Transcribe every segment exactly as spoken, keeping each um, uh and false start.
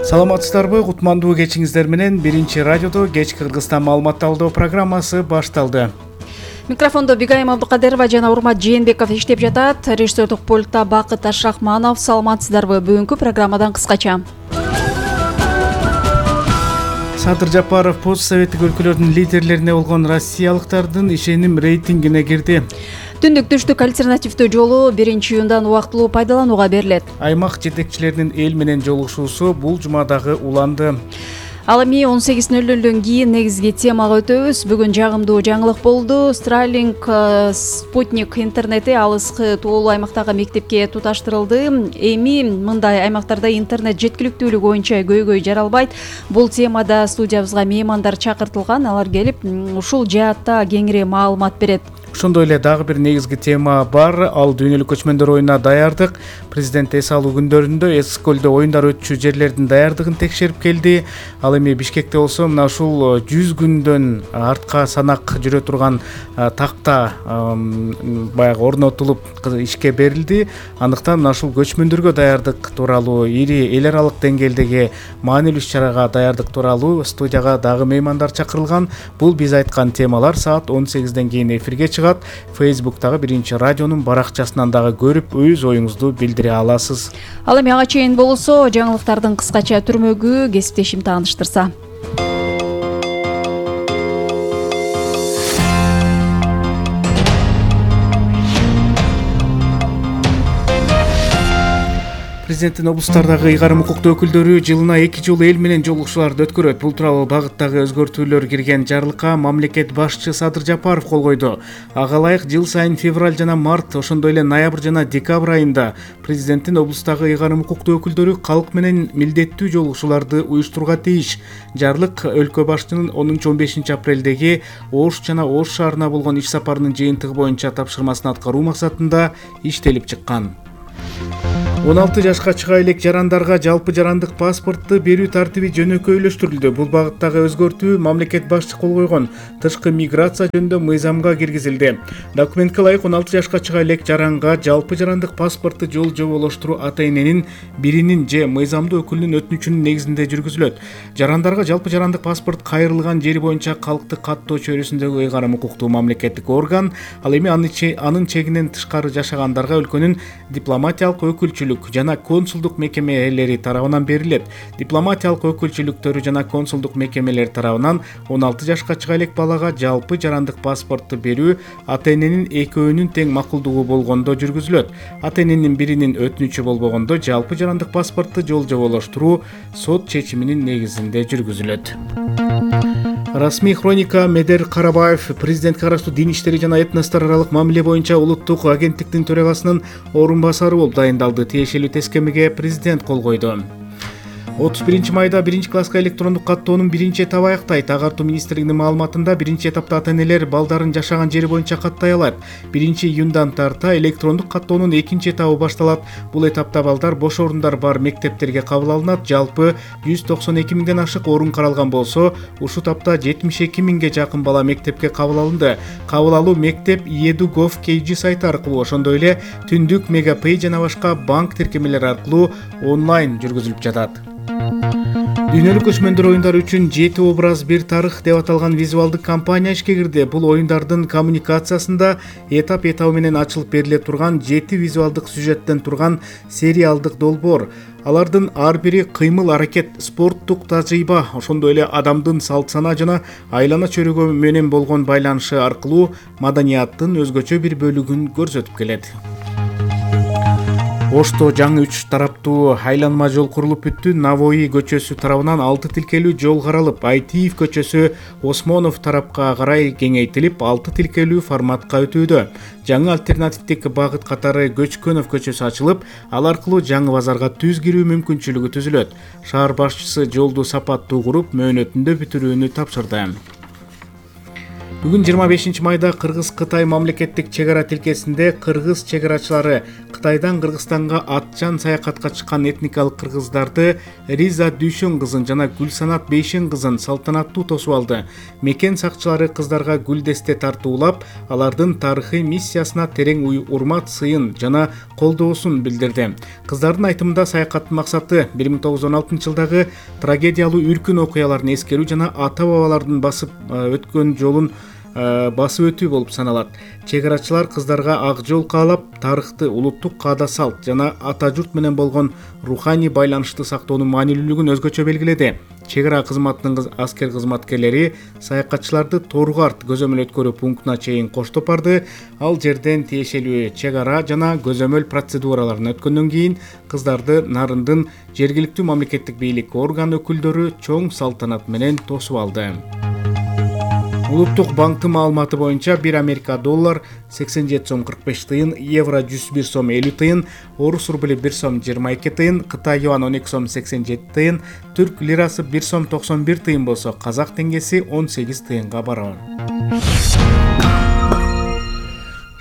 Саламатсыздарбы? Кутмандуу кечиңиздер менен биринчи радиодо кечки Кыргызстан маалымат талдоо программасы башталды. Микрофондо Бигайым Абдыкадырова жана Урмат Жээнбеков иштеп жатат. Режиссердук пультта Бакыт Ашрахманов. Саламатсыздарбы? Бүгүнкү программадан кыскача. Садыр Жапаров пост советтик өлкөлөрдүн лидерлерине болгон россиялыктардын ишеним рейтингине кирди. Түндүк түштүк альтернативдүү жолу биринчи июндан убактылуу пайдаланууга берилет. Аймак жетекчилеринин эл менен жолугушуусу бул жумадагы уланды. Ал эми он сегиз ноль нолдон кийин негизги темага өтөбүз. Бүгүн жагымдуу жаңылык болду. Starlink спутник интернети алыскы тоолуу аймактагы мектепке туташтырылды. Эми мындай аймактарда интернет жеткиликтүүлүгү боюнча көйгөй жаралбайт. Бул темада студиябызга меймандар чакыртылган. Алар келип ушул жаатта кеңири маалымат берет. Ошондой эле дагы бир негизги тема бар. Ал дүйнөлүк көчмөндөр оюнуна даярдык. Президент эс алуу күндөрүндө эс көлдө оюндар өтчү жерлердин даярдыгын текшерип келди. Ал эми Бишкекте болсо мына ушул жүз күндөн артка санак жүрө турган такта баягы орнотулуп ишке берилди. Андыктан мына ушул көчмөндөргө даярдык тууралуу, ири эл аралык деңгээлдеги маанилүү иш-чарага даярдык тууралуу студияга дагы меймандар чакырылган. Бул биз айткан темалар саат он сегизден кийин эфирге чыгат. Фейсбуктагы биринчи радионун баракчасынан дагы көрүп, өз оюңузду билдире аласыз. Ал эми ага чейин болсо, жаңылыктардын кыскача түрмөгү кесиптешим тааныштырса. Президенттин облустардагы ыйгарым укуктуу өкүлдөрү жылына эки жолу эл менен жолугушууларды өткөрөт. Бул тууралуу багыттагы өзгөртүүлөр кирген жарлыкка мамлекет башчысы Садыр Жапаров кол койду. Ага ылайык жыл сайын февраль жана март, ошондой эле ноябрь жана декабрь айында президенттин облустагы ыйгарым укуктуу өкүлдөрү калк менен милдеттүү жолугушууларды уюштурууга тийиш. Жарлык өлкө башчынын онунчу он бешинчи апрелдеги Ош жана Ош шаарына болгон иш сапарынын жыйынтыгы боюнча тапшырмасын аткаруу максатында иштелип чыккан. он алты жашка чыга элек жарандарга жалпы жарандык паспортту берүү тартиби жөнөкөйлөштүрүлдү. Бул багыттагы өзгөртүү мамлекет башчы кол койгон тышкы миграция жөнүндө мыйзамга киргизилди. Документке ылайык он алты жашка чыга элек жаранга жалпы жарандык паспортту жол жоболоштуруу ата-эненин биринин же мыйзамдуу өкүлүнүн өтүнүчүнүн негизинде жүргүзүлөт. Жарандарга жалпы жарандык паспорт кайрылган жери боюнча калкты каттоо чөйрөсүндөгү ыйгарым укуктуу мамлекеттик орган, ал эми анын чегинен тышкары жашагандарга өлкөнүн дипломатиялык өкүлчүлүк жана консулдук мекемелери тарабынан берилет. Дипломатиялык өкүлчүлүктөрү жана консулдук мекемелер тарабынан он алты жашка чыга элек балага жалпы жарандык паспортту берүү ата-эненин экөөнүн тең макулдугу болгондо жүргүзүлөт. Ата-эненин биринин өтүнүчү болбогондо жалпы жарандык паспортту жол жоболоштуруу сот чечиминин негизинде жүргүзүлөт. Расмий хроника. Медер Карабаев президентке караштуу дин иштери жана этностор аралык мамиле боюнча улуттук агенттиктин төрагасынын орун басары болуп дайындалды. Тиешелүү тескемеге президент кол койду. отуз биринчи майда биринчи класска электрондук каттоонун биринчи этабы аяктайт. Агартуу министрлигинин маалыматында биринчи этапта ата-энелер балдарын жашаган жери боюнча каттай алат. биринчи июндан тарта электрондук каттоонун экинчи этабы башталат. Бул этапта балдар бош орундар бар мектептерге кабыл алынат. Жалпы жүз токсон эки миңден ашык орун каралган болсо, ушул тапта жетимиш эки миңге жакын бала мектепке кабыл алынды. Кабыл алуу мектеп edu точка gov точка kg сайты аркылуу, ошондой эле Түндүк, Мегапей жана башка банк тиркемелери аркылуу онлайн жүргүзүлүп жатат. Дүйнөлүк көчмөндөр оюндары үчүн жети образ бир тарых деп аталган визуалдык кампания ишке кирди. Бул оюндардын коммуникациясында этап-этабы менен ачылып бериле турган жети визуалдык сюжеттен турган сериалдык долбоор. Алардын ар бири кыймыл-аракет, спорттук тажрыйба, ошондой эле адамдын салт-сана жана айлана чөйрөгө менен болгон байланышы аркылуу маданияттын өзгөчө бир бөлүгүн көрсөтүп келет. Ошто жаңы үч тараптуу айланма жол курулуп бүттү. Навои көчөсү тарабынан алты тилкелүү жол каралып, Айтиев көчөсү Осмонов тарапка карай кеңейтилип, алты тилкелүү форматка өтүүдө. Жаңы альтернативдик багыт катары Көчкөнов көчөсү ачылып, ал аркылуу жаңы базарга түз кирүү мүмкүнчүлүгү түзүлөт. Шаар башчысы жолду сапаттуу куруп, мөөнөтүндө бүтүрүүнү тапшырды. Бүгүн жыйырма бешинчи майда Кыргыз-Кытай мамлекеттик чек ара тилкесинде кыргыз чек арачылары Кытайдан Кыргызстанга атчан саякатка чыккан этникалык кыргыздарды Риза Дүйшөн кызын жана Гүлсанат Бейшен кызын салтанаттуу тосуп алды. Мекен сакчылары кыздарга гүл десте тартуулап, алардын тарыхый миссиясына терең урмат, сыйын жана колдоосун билдирди. Кыздардын айтымында саякаттын максаты бир миң тогуз жүз он алтынчы жылдагы трагедиялуу үркүн окуяларын эскерүү жана ата-бабалардын басып өткөн жолун басып өтүү болуп саналат. Чек арачылар кыздарга ак жол каалап, тарыхты, улуттук каада салт жана ата журт менен болгон руханий байланышты сактоонун маанилүүлүгүн өзгөчө белгиледи. Чек ара кызматынын аскер кызматкерлери саякатчыларды Торгарт көзөмөл өткөрүү пунктуна чейин коштоп барды. Ал жерден тиешелүү чек ара жана көзөмөл процедураларын өткөндөн кийин кыздарды Нарындын жергиликтүү мамлекеттик бийлик орган өкүлдөрү чоң салтанат менен тосуп алды. Улуттук банктын маалыматы боюнча бир Америка доллар сексен жети сом кырк беш тыйын, евро жүз бир сом элүү тыйын, орус рубли бир сом жыйырма эки тыйын, Кытай юан он эки сом сексен жети тыйын, түрк лирасы бир сом токсон бир тыйын болсо, казак теңгеси он сегиз тыйынга барабар.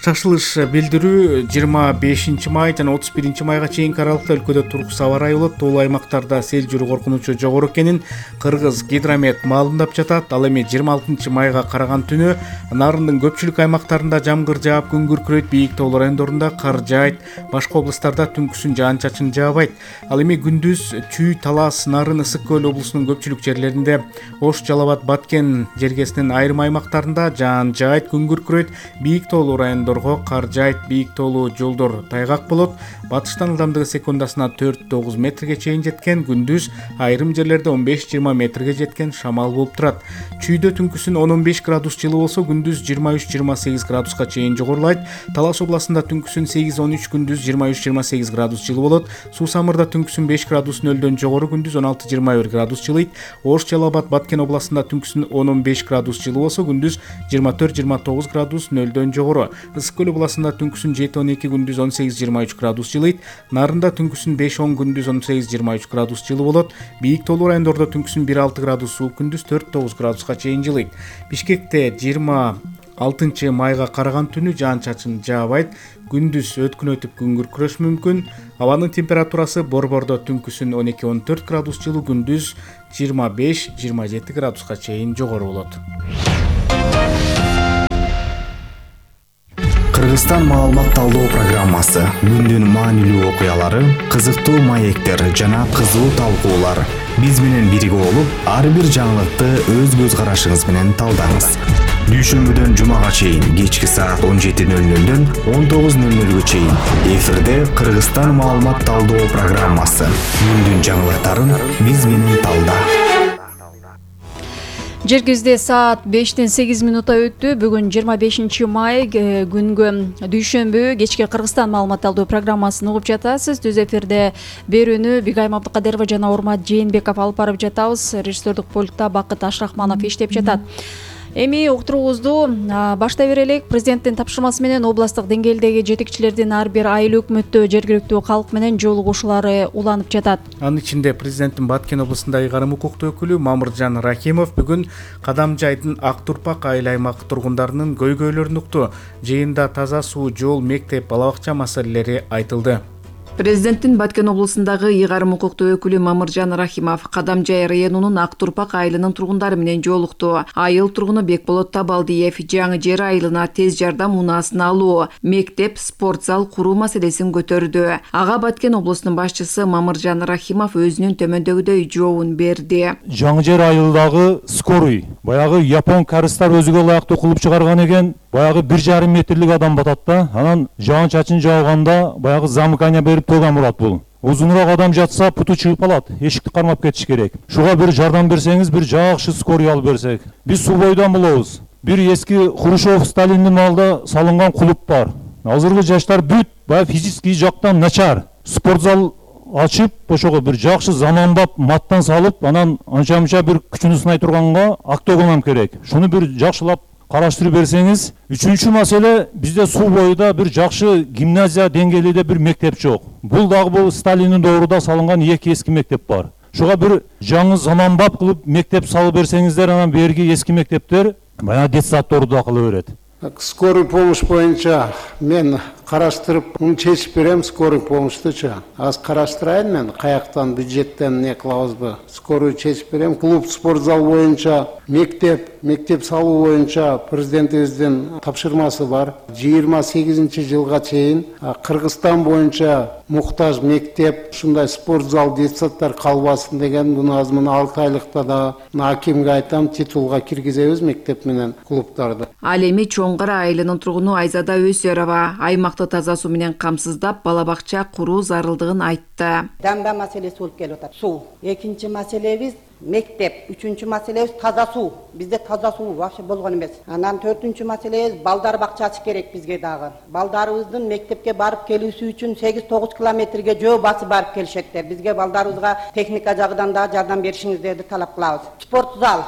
Шашылыш билдирүү жыйырма бешинчи май жана отуз биринчи майга чейинки аралыкта өлкөдө туруксуз аба ырайы болот. Тоолуу аймактарда сел жүрүү коркунучу жогору экенин Кыргыз гидромет маалымдап жатат. Ал эми жыйырма алтынчы майга караган түнү Нарындын көпчүлүк аймактарында жамгыр жаап, күн күркүрөйт, бийик тоолуу райондорунда кар жаайт, башка облустарда түнкүсүн жаан-чачын жаабайт. Ал эми күндүз Чүй, Талас, Нарын, Ысык көл облусунун көпчүлүк жерлеринде, Ош, Жалал Абад, Баткен жергесинин айрым аймактарында жаан жаайт, күн күркүрөйт, бийик тоолуу райондор кар жаайт, бийик тоолуу жолдор тайгак болот. Батыштан ылдамдыгы секундасына төрт тогуз метрге чейин жеткен, күндүз айрым жерлерде он беш жыйырма метрге жеткен шамал болуп турат. Чүйдө түнкүсүн он он беш градус жылы болсо, күндүз жыйырма үч жыйырма сегиз градуска чейин жогорулайт. Талас областында түнкүсүн сегиз он үч, күндүз жыйырма үч жыйырма сегиз градус жылы болот. Суу Самырда түнкүсүн беш градус нөлдөн жогору, күндүз он алты жыйырма бир градус жылыйт. Ош, Жалал Абад, Баткен областында түнкүсүн он он беш градус жылы болсо, күндүз жыйырма төрт жыйырма тогуз градус нөлдөн жогору. Ысык көл областында түнкүсүн жети он эки, күндүз он сегиз жыйырма үч градус жылыйт. Нарында түнкүсүн беш он, күндүз он сегиз жыйырма үч градус жылы болот. Бийик тоолуу райондордо түнкүсүн бир алты градус суук, күндүз төрт тогуз градуска чейин жылыйт. Бишкекте жыйырма алтынчы майга караган түнү жаан-чачын жаабайт, күндүз өткүн өтүп күн күркүрөшү мүмкүн. Абанын температурасы Борбордо түнкүсүн он эки он төрт градус жылы, күндүз жыйырма беш жыйырма жети градуска чейин жогору болот. Кыргызстан маалымат талдоо программасы, күндүн маанилүү окуялары, кызыктуу маектер жана кызуу талкуулар. Биз менен бирге болуп, ар бир жаңылыкты өз көз карашыңыз менен талдаңыз. Дүйшөмбүдөн жумага чейин кечки саат он жети нөл нөлдөн он тогуз нөл нөлгө чейин эфирде Кыргызстан маалымат талдоо программасы. Күндүн жаңылыктарын биз менен талда. Жергибизде саат бештен сегиз минутта өттү. Бүгүн жыйырма бешинчи май күнгө дүйшөмбү кечки Кыргызстан маалымат талдоо программасын угуп жатасыз. Түз эфирде берүүнү Бигайым Абдыкадырова жана Урмат Жээнбеков алып барып жатабыз. Режиссердик пультта Бакыт Ашрахманов иштеп жатат. Эми уктуруубузду баштай берелик. Президенттин тапшырмасы менен областтык деңгээлдеги жетекчилердин ар бир айыл өкмөттө жергиликтүү калк менен жолугушуулары уланып жатат. Анын ичинде президенттин Баткен облусундагы ыйгарым укуктуу өкүлү Мамыржан Рахимов бүгүн Кадамжайдын Ак Турпак айыл аймак тургундарынын көйгөйлөрүн укту. Жыйында таза суу, жол, мектеп, бала бакча маселелери айтылды. Президенттин Баткен облусундагы ыйгарым укуктуу өкүлү Мамыржан Рахимов Кадамжай районунун Ак Турпак айылынын тургундары менен жолукту. Айыл тургуну Бекболот Табалдиев жаңы жер айылына тез жардам унаасын алуу, мектеп, спорт зал куруу маселесин көтөрдү. Ага Баткен облусунун башчысы Мамыржан Рахимов өзүнүн төмөндөгүдөй жообун берди. Жаңы жер айылдагы скорый, баягы япон карыстар өзүгө ылайыктуу кылып чыгарган экен. Баягы бир жарым метрлик адам батат да. Анан жаан-чачын жауганда баягы замыкание берип турган болот бул. Узунураак адам жатса путу чыгып калат. Эшикти кармап кетиш керек. Шуга бир жардам берсеңиз, бир жакшы скорый алып берсек. Биз суу бойдон болобуз. Бир эски Хрущев, Сталиндин маалында салынган клуб бар. Азыркы жаштар бүт баягы физический жактан начар. Спортзал ачып, ошого бир жакшы заманбап маттан салып, анан анча-мынча бир күчүнү сынай турганга октогонам керек. Шуну бир жакшылап караштырып берсеңиз. Үчүнчү маселе, бизде суу боюда бир жакшы гимназия деңгээлинде бир мектеп жок. Бул дагы бул Сталиндин доорунда салынган эки эски мектеп бар. Шуга бир жаңы заманбап кылып мектеп салып берсеңиздер, анан берги эски мектептер баягы детсадторду да кыла берет. Скорый помощь боюнча мен караштырып муну чечип берем, скорый помощьтучу. Аз караштырайын мен каяктан бюджеттен не кылабызбы? Скорый чечип берем. Клуб, спортзал боюнча, мектеп, мектеп салуу боюнча президентибиздин тапшырмасы бар. жыйырма сегизинчи жылга чейин Кыргызстан боюнча муктаж мектеп, ушундай спортзал, детсадтар калбасын деген буну аз мына алты айлыкта да акимге айтам, титулга киргизебиз мектеп менен клубтарды. Ал эми Чоңгара айылынын тургуну Айзада Өсөрова аймакты таза суу менен камсыздап бала бакча куруу зарылдыгын айтты. Дамба маселеси болуп келип атат. Суу. Экинчи маселебиз мектеп, үчүнчү маселебиз таза суу. Бизде таза суу вообще болгон эмес. Анан төртүнчү маселебиз балдар бакчасы керек бизге дагы. Балдарыбыздын мектепке барып келүүсү үчүн сегиз тогуз километрге жөө басып барып келишеттер. Бизге балдарыбызга техника жагынан да жардам беришиңиздерди талап кылабыз. Спортзал.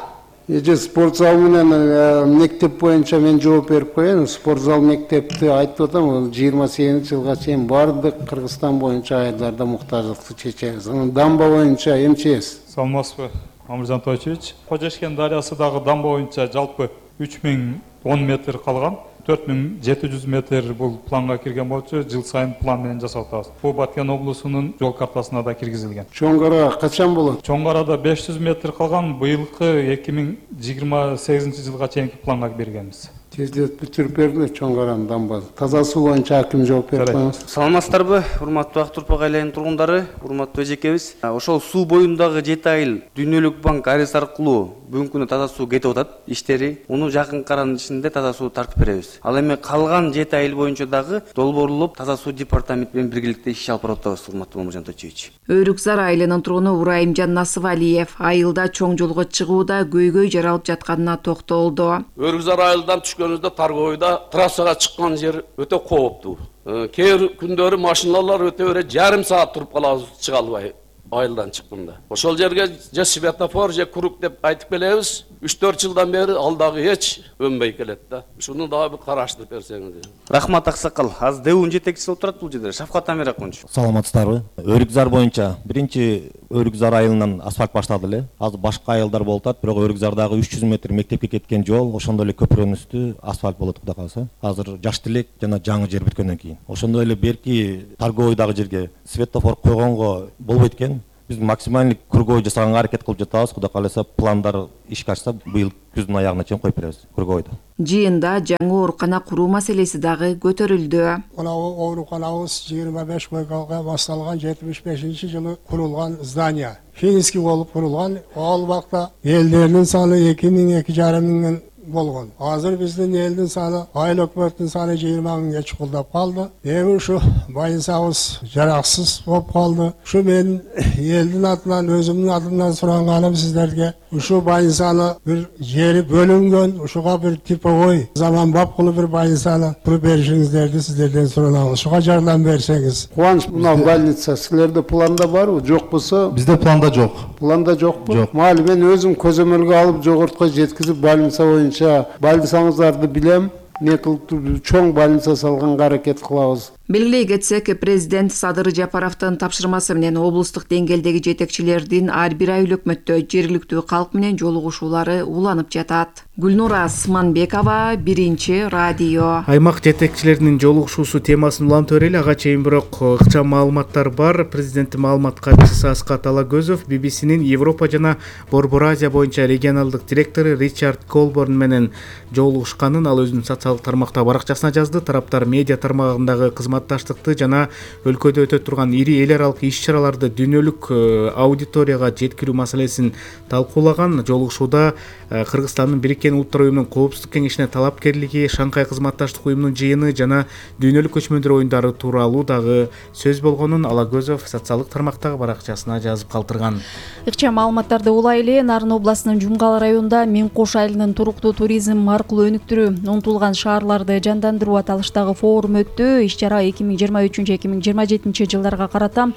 Эже спортзал менен мектеп боюнча мен жооп берип коеюн. Спортзал мектепти айтып атам, жыйырма сегизинчи жылга чейин бардык Кыргызстан боюнча айылдарда муктаждыкты чечебиз. Анан дамба боюнча МЧС. Саламатсызбы, Амыржан Тойчевич. Кожешкен дарыясындагы дамба боюнча жалпы үч миң он метр калган. төрт миң жети жүз метр бул планга кирген болчу, жыл сайын план менен жасап атабыз. Бул Баткен облусунун жол картасына да киргизилген. Чоңгара качан болот? Чоңгарада беш жүз метр калган, быйылкы эки миң жыйырма сегизинчи жылга чейинки планга бергенбиз. Тездет бүтүрүп берди Чоңгаранын дамбасы. Таза суу боюнча аким жооп берип коебуз. Саламатсыздарбы, урматтуу Ак Турпак айланын тургундары, урматтуу эжекебиз. Ошол суу боюндагы жети айыл Дүйнөлүк банк арест аркылуу бүгүнкү күнү таза суу кетип атат иштери. Муну жакын аранын ичинде таза суу тартып беребиз. Ал эми калган жети айыл боюнча дагы долбоорлоп таза суу департамент менен биргеликте иш алып барып атабыз, урматтуу Амыржан Тойчевич. Өрүкзар айылынын тургуну Урайымжан Насыбалиев айылда чоң жолго чыгууда көйгөй жаралып жатканына токтолду. Өрүкзар айылдан түшкөнүбүздө Таргойда трассага чыккан жер өтө кооптуу. Кээ бир күндөрү машиналар өтө бере жарым саат туруп калабыз чыга албай айылдан чыкканда. Ошол жерге же светофор же круг деп айтып келебиз. үч төрт жылдан бери ал дагы эч өнбөй келет да. Шуну дагы бир караштырып берсеңиз. Рахмат аксакал. Азыр дэүүнүн жетекчиси болуп турат бул жерде. Шафкат Амир акунч. Саламатсыздарбы? Өрүкзар боюнча биринчи Өрүкзар айылынан асфальт баштады эле. Азыр башка айылдар болуп атат, бирок Өрүкзардагы үч жүз метр мектепке кеткен жол ошондой эле көпүрөнүн үстү асфальт болот кудай кааласа. Азыр Жаш Тилек жана жаңы жер бүткөндөн кийин. Ошондой эле берки Таргойдагы жерге светофор койгонго болбойт экен. Биз максималдык кругой жасаганга аракет кылып жатабыз. Кудай кааласа пландар ишке ашса быйыл күздүн аягына чейин коюп беребиз кругойду. Жыйында жаңы оорукана куруу маселеси дагы көтөрүлдү. Мына ооруканабыз жыйырма беш койкага башталган жетимиш бешинчи жылы курулган здание. Финский болуп курулган. Ал убакта элдердин саны эки миң эки жарым миңден болгон. Азыр биздин элдин саны, айыл өкмөттүн саны жыйырма миңге чукулдап калды. Эми ушу байынсабыз жараксыз болуп калды. Ушу мен элдин атынан, өзүмдүн атымдан суранганым сиздерге ушу байынсаны бир жери бөлүнгөн, ушуга бир типовой заманбап кылып бир байынсаны куруп беришиңиздерди сиздерден суранабыз. Ушуга жардам берсеңиз. Кубаныч, мына больница силерде планда барбы? Жок болсо? Бизде планда жок. Планда жокпу? Жок. Мали мен өзүм көзөмөлгө алып жогортко жеткизип больница боюнча больницаңыздарды билем. Не кылып чоң больница салганга аракет кылабыз. Белгилей кетсек, президент Садыр Жапаровдун тапшырмасы менен облустук деңгээлдеги жетекчилердин ар бир ай өкмөттө жергиликтүү калк менен жолугушуулары уланып жатат. Гүлнура Сманбекова, Биринчи радио. Аймак жетекчилеринин жолугушуусу темасын улантып берели. Ага чейин бирок ыкчам маалыматтар бар. Президенттин маалымат катчысы Аскат Алагөзов би би синин Европа жана Борбор Азия боюнча регионалдык директору Ричард Колборн менен жолугушканын ал өзүнүн социалдык тармактагы баракчасына жазды. Тараптар медиа тармагындагы кызматташтыкты жана өлкөдө өтө турган ири эл аралык иш-чараларды дүйнөлүк аудиторияга жеткирүү маселесин талкуулаган. Жолугушууда Кыргызстандын Бириккен Улуттар уюмунун Коопсуздук кеңешине талапкерлиги, Шанхай кызматташтык уюмунун жыйыны жана дүйнөлүк көчмөндөр оюндары тууралуу дагы сөз болгонун Алагөзов социалдык тармактагы баракчасына жазып калтырган. Ыкчам маалыматтарды улайлы. Нарын областынын Жумгал районунда Мен Кош айылынын туруктуу туризм аркылуу өнүктүрүү, унутулган шаарларды жандандыруу аталыштагы форум өттү. Иш-чара эки миң жыйырма үчүнчү эки миң жыйырма жетинчи жылдарга карата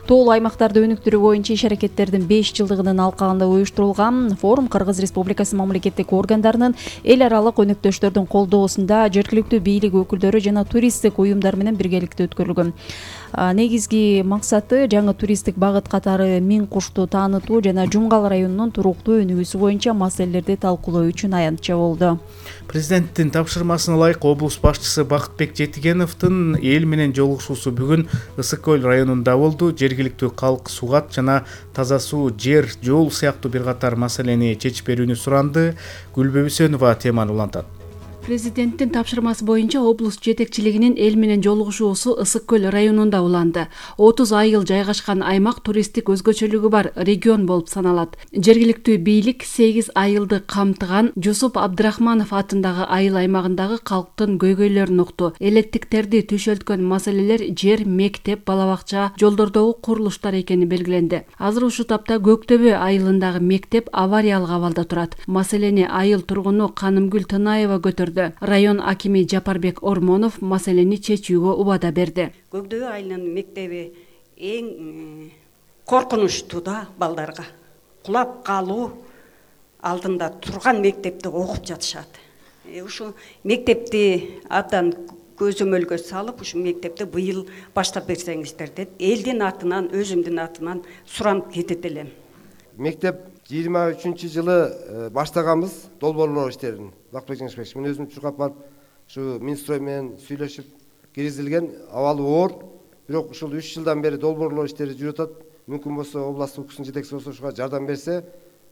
тоолуу аймактарды өнүктүрүү боюнча иш-аракеттердин беш жылдыгынын алкагында уюштурулган. Форум Кыргыз Республикасы мамлекеттик органдарынын эл аралык өнөктөштөрдүн колдоосунда жергиликтүү бийлик өкүлдөрү жана туристтик уюмдар менен биргеликте өткөрүлгөн. Негизги максаты жаңы туристтик багыт катары Миң кушту таанытуу жана Жумгал районунун туруктуу өнүгүүсү боюнча маселелерди талкуулоо үчүн аянтча болду. Президенттин тапшырмасына ылайык облус башчысы Бакытбек Жетигеновдун эл менен жолугушуусу бүгүн Ысык көл районунда болду. Жергиликтүү калк сугат жана таза суу, жер, жол сыяктуу бир катар маселени чечип берүүнү суранды. Гүлбү Үсөнова теманы улантат. Президенттин тапшырмасы боюнча облус жетекчилигинин эл менен жолугушуусу Ысык көл районунда уланды. отуз айыл жайгашкан аймак туристтик өзгөчөлүгү бар регион болуп саналат. Жергиликтүү бийлик сегиз айылды камтыган Жусуп Абдрахманов атындагы айыл аймагындагы калктын көйгөйлөрүн укту. Элеттиктерди түшөлткөн маселелер жер, мектеп, бала бакча, жолдордогу курулуштар экени белгиленди. Азыр ушул тапта Көктөбө айылындагы мектеп авариялык абалда турат. Маселени айыл тургуну Канымгүл Тынаева көтөрдү. Район акими Жапарбек Ормонов маселени чечүүгө убада берди. Көктөбө айылынын мектеби эң коркунучтуу да балдарга. Кулап калуу алдында турган мектепти окуп жатышат. Ушу мектепти абдан көзөмөлгө салып, ушу мектепти быйыл баштап берсеңиздер деп элдин атынан, өзүмдүн атынан суранып кетет элем. Мектеп жыйырма үчүнчү жылы баштаганбыз долбоорлоо иштерин. Бакытбек Жеңишбекович, мен өзүм чуркап барып, ушу Минстрой менен сүйлөшүп киргизилген, абалы оор. Бирок ушул үч жылдан бери долбоорлоо иштери жүрүп атат. Мүмкүн болсо областтык укуктун жетекчиси болсо ушуга жардам берсе,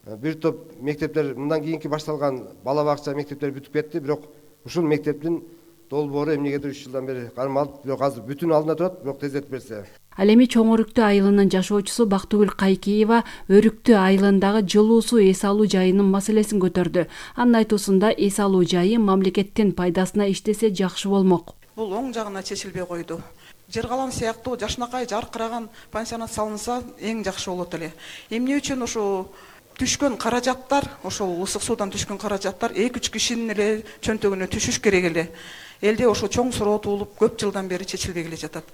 бир топ мектептер мындан кийинки башталган бала бакча мектептер бүтүп кетти, бирок ушул мектептин долбоору эмнегедир үч жылдан бери кармалып, бирок азыр бүтүн алдында турат, бирок тездетип берсе. Ал эми Чоң Өрүктүү айылынын жашоочусу Бактыгүл Кайкиева Өрүктүү айылындагы жылуу суу эс алуу жайынын маселесин көтөрдү. Анын айтуусунда эс алуу жайы мамлекеттин пайдасына иштесе жакшы болмок. Бул оң жагына чечилбей койду. Жыргалам сыяктуу жашынакай жаркыраган пансионат салынса эң жакшы болот эле. Эмне үчүн ошо түшкөн каражаттар, ошол ысык суудан түшкөн каражаттар эки үч кишинин эле чөнтөгүнө түшүш керек эле. Элде ошо чоң суроо туулуп көп жылдан бери чечилбей келе жатат.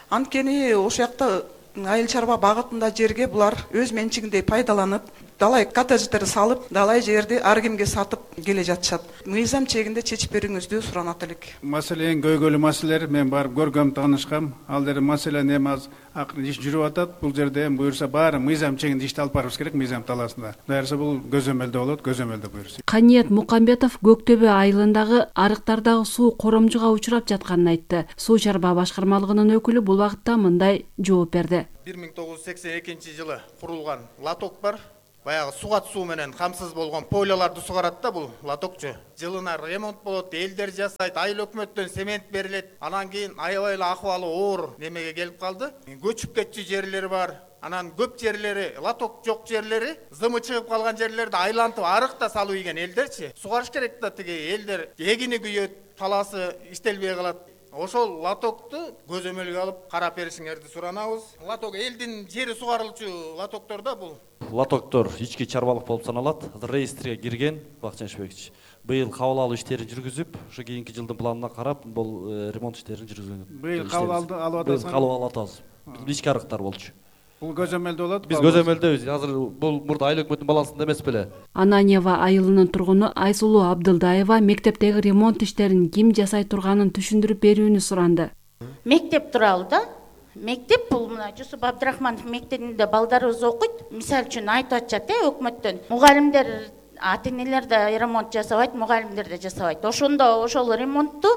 Анткени ошол жакта айыл чарба багытында жерге булар өз менчигинде пайдаланып, далай коттедждер салып, далай жерди ар кимге сатып келе жатышат. Мыйзам чегинде чечип берүүңүздү суранат элек. Маселе эң көйгөйлүү маселелер, мен барып көргөм, таанышкам. Ал жерде маселени эми азыр акырын иш жүрүп атат. Бул жерде эми буюрса баары мыйзам чегинде ишти алып барыбыз керек, мыйзам талаасында. Дайырса бул көзөмөлдө болот, көзөмөлдө буюрса. Каниет Мукамбетов Көктөбө айылындагы арыктардагы суу коромжуга учурап жатканын айтты. Суу чарба башкармалыгынын өкүлү бул багытта мындай жооп берди. бир миң тогуз жүз сексен экинчи жылы курулган лоток бар. Баягы сугат суу менен камсыз болгон пойлаларды сугарат да бул лотокчу. Жылына ремонт болот, элдер жасайт, айыл өкмөттөн цемент берилет. Анан кийин аябай эле акыбалы оор немеге келип калды. Көчүп кетчү жерлери бар. Анан көп жерлери, лоток жок жерлери, зымы чыгып калган жерлерди айлантып арык да салуу ийген элдерчи. Сугарыш керек да, тиги элдер эгини күйөт, талаасы иштелбей калат. Ошол лотокту көзөмөлгө алып карап беришиңерди суранабыз. Лоток элдин жери сугарылчу лотоктор да бул. Лотоктор ички чарбалык болуп саналат. Азыр реестрге кирген Бакытжан Шебекович. Быйыл кабыл алуу иштерин жүргүзүп, ушу кийинки жылдын планына карап, бул ремонт иштерин жүргүзгөн. Быйыл кабыл алып атасыз. Быйыл кабыл алып атабыз. Ички арыктар болчу. Бул көзөмөлдө болот. Биз көзөмөлдөбүз. Азыр бул мурда айыл өкмөттүн баласында эмес беле. Ананьева айылынын тургуну Айсулуу Абдылдаева мектептеги ремонт иштерин ким жасай турганын түшүндүрүп берүүнү суранды. Мектеп тууралуу да. Мектеп бул мына Жусуп Абдрахманов мектебинде балдарыбыз окуйт. Мисалы үчүн айтып атышат э өкмөттөн. Мугалимдер, ата-энелер да ремонт жасабайт, мугалимдер да жасабайт. Ошондо ошол ремонтту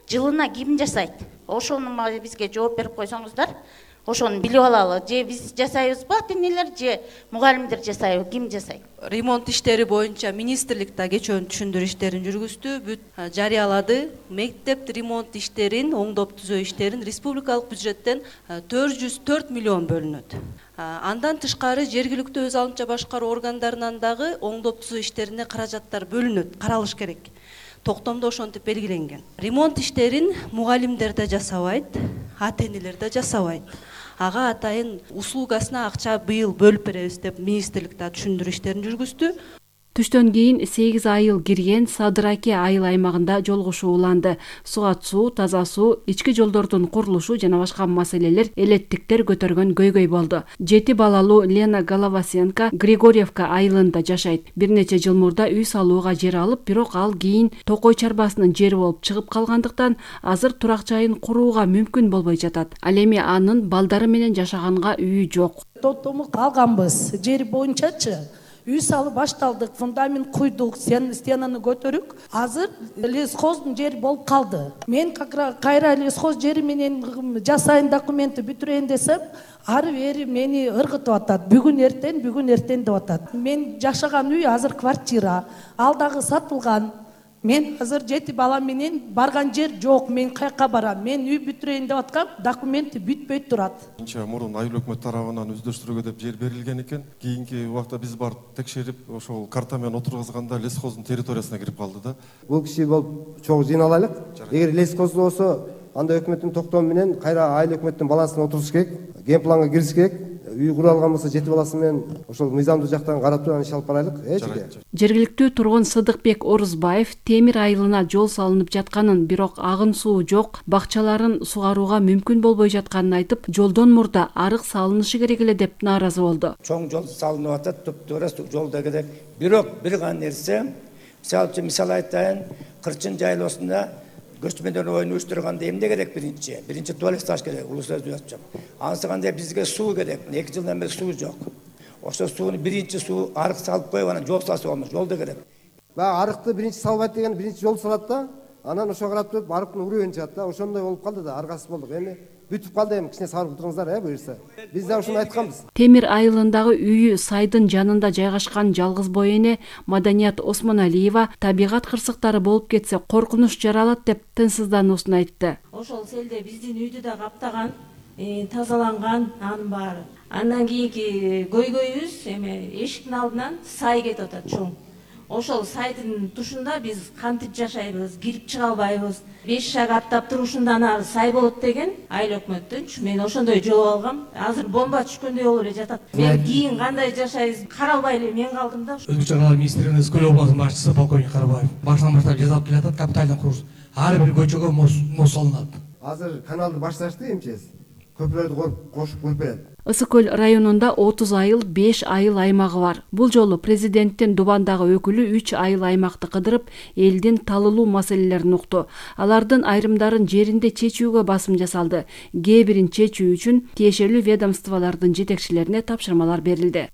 жылына ким жасайт? Ошону бизге жооп берип койсоңуздар. Ошону билип алалы. Же биз жасайбызбы, ата-энелер, же мугалимдер жасайбы, ким жасайт? Ремонт иштери боюнча министрлик да кечөөн түшүндүрүү иштерин жүргүздү, бүт жарыялады. Мектеп ремонт иштерин, оңдоп түзөө иштерин республикалык бюджеттен төрт жүз төрт миллион бөлүнөт. Андан тышкары жергиликтүү өз алымча башкаруу органдарынан дагы оңдоп түзөө иштерине каражаттар бөлүнөт, каралыш керек. Токтомдо ошентип белгиленген. Ремонт иштерин мугалимдер да жасабайт, ата-энелер да жасабайт. Ага атайын услугасына акча быйыл бөлүп беребиз деп министрлик да түшүндүрүү иштерин жүргүздү. Түштөн кийин сегиз айыл кирген Садыраке айыл аймагында жолугушуу уланды. Сугат суу, таза суу, ички жолдордун курулушу жана башка маселелер элеттиктер көтөргөн көйгөй болду. Жети балалуу Лена Головасенко Григорьевка айылында жашайт. Бир нече жыл мурда үй салууга жер алып, бирок ал кийин Токой чарбасынын жери болуп чыгып калгандыктан азыр турак жайын курууга мүмкүн болбой жатат. Ал эми анын балдары менен жашаганга үйү жок. Тоттому калганбыз. Жер боюнчачы үй салып башталдык, фундамент куйдук, стенаны көтөрүк. Азыр лесхоздун жери болуп калды. Мен кайра лесхоз жери менен жасайын, документти бүтүрөйүн десем, ары бери мени ыргытып атат. Бүгүн эртең, бүгүн эртең деп атат. Мен жашаган үй азыр квартира, ал дагы сатылган. Мен азыр жети бала менен барган жер жок. Мен каяка барам? Мен үй бүтүрөйүн деп аткам, документи бүтпөй турат. Анча мурун айыл өкмөт тарабынан өздөштүрүүгө деп жер берилген экен. Кийинки убакта биз барып текшерип, ошол карта менен отургузганда лесхоздун территориясына кирип калды да. Бул киши болуп чогуу жыйналайлык. Эгер лесхоз болсо, анда өкмөттүн токтому менен кайра айыл өкмөттүн балансына отуруш керек, ген планга кириш керек. Үй кура алган болсо жети баласы менен ошол мыйзамдуу жактан карап туруп иш алып барайлык, э жеке. Жергиликтүү тургун Сыдыкбек Орузбаев Темир айылына жол салынып жатканын, бирок агын суу жок, бакчаларын сугарууга мүмкүн болбой жатканын айтып, жолдон мурда арык салынышы керек эле деп нааразы болду. Чоң жол салынып атат, топтора жол да керек. Бирок бир гана нерсе, мисалы үчүн мисал айтайын, Кырчын жайлоосунда көчмөдөн оюн уюштурганда эмне керек биринчи? Биринчи туалет саш керек, улуу сөз айтчам. Анысы кандай бизге суу керек. эки жылдан бери суу жок. Ошо сууну биринчи суу арык салып коюп, анан жол салса болмок, жол да керек. Баягы арыкты биринчи салбайт деген биринчи жол салат да, анан ошого карап туруп арыктын уруун чыгат да, ошондой болуп калды да, аргасыз болдук. Эми бүтүп калды, эми кичине сабыр кылдырыңыздар, э, буюрса. Биз да ошону айтканбыз. Темир айылындагы үйү сайдын жанында жайгашкан жалгыз бой эне Маданият Осмоналиева табигат кырсыктары болуп кетсе коркунуч жаралат деп тынчсыздануусун айтты. Ошол селде биздин үйдү да каптаган, тазаланган анын баары. Андан кийинки көйгөйүбүз эме эшиктин алдынан сай кетип атат чоң. Ошол сайдын тушунда биз кантип жашайбыз, кирип чыга албайбыз. беш шаг аттап турушундан ары сай болот деген айыл өкмөттүн. Мен ошондой жооп алгам. Азыр бомба түшкөндөй болуп эле жатат. Мен кийин кандай жашайбыз каралбай эле мен калдым да. Өзгөчө чаралар министринин Ызкөл областынын башчысы полковник Карабаев баштан баштап жасалып келатат, капитальный курс. Ар бир көчөгө мост салынат. Азыр каналды башташты эмчес. Көпүрөлдү кошуп коюп берет. Ысык көл районунда отуз айыл, беш айыл аймагы бар. Бул жолу президенттин Дубандагы өкүлү үч айыл аймакты кыдырып, элдин талылуу маселелерин укту. Алардын айрымдарын жеринде чечүүгө басым жасалды. Кээ бирин чечүү үчүн тиешелүү ведомстволордун жетекчилерине тапшырмалар берилди.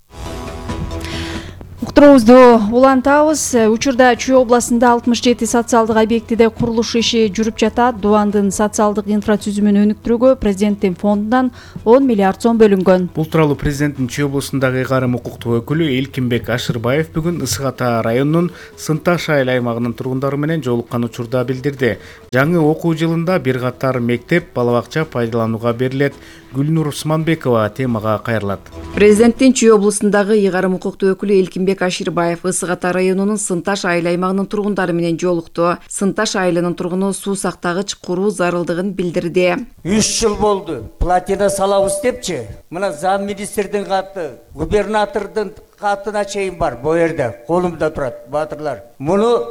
Уктуруубузду улантабыз. Учурда Чүй областында алтымыш жети социалдык объектиде курулуш иши жүрүп жатат. Дубандын социалдык инфрачүзүмүн өнүктүрүүгө президенттин фондунан он миллиард сом бөлүнгөн. Бул тууралуу президенттин Чүй областындагы ыйгарым укуктуу өкүлү Элкинбек Ашырбаев бүгүн Ысык Ата районунун Сынташ айыл аймагынын тургундары менен жолуккан учурда билдирди. Жаңы окуу жылында бир катар мектеп, бала бакча пайдаланууга берилет. Гүлнур Усманбекова темага кайрылат. Президенттин Чүй областындагы ыйгарым укуктуу өкүлү Элкинбек Ашырбаев Ысык Ата районунун Сынташ айыл аймагынын тургундары менен жолукту. Сынташ айылынын тургуну суу сактагыч куруу зарылдыгын билдирди. үч жыл болду. Платина салабыз депчи. Мына зам министрдин каты, губернатордун катына чейин бар. Бу жерде колумда турат, батырлар. Муну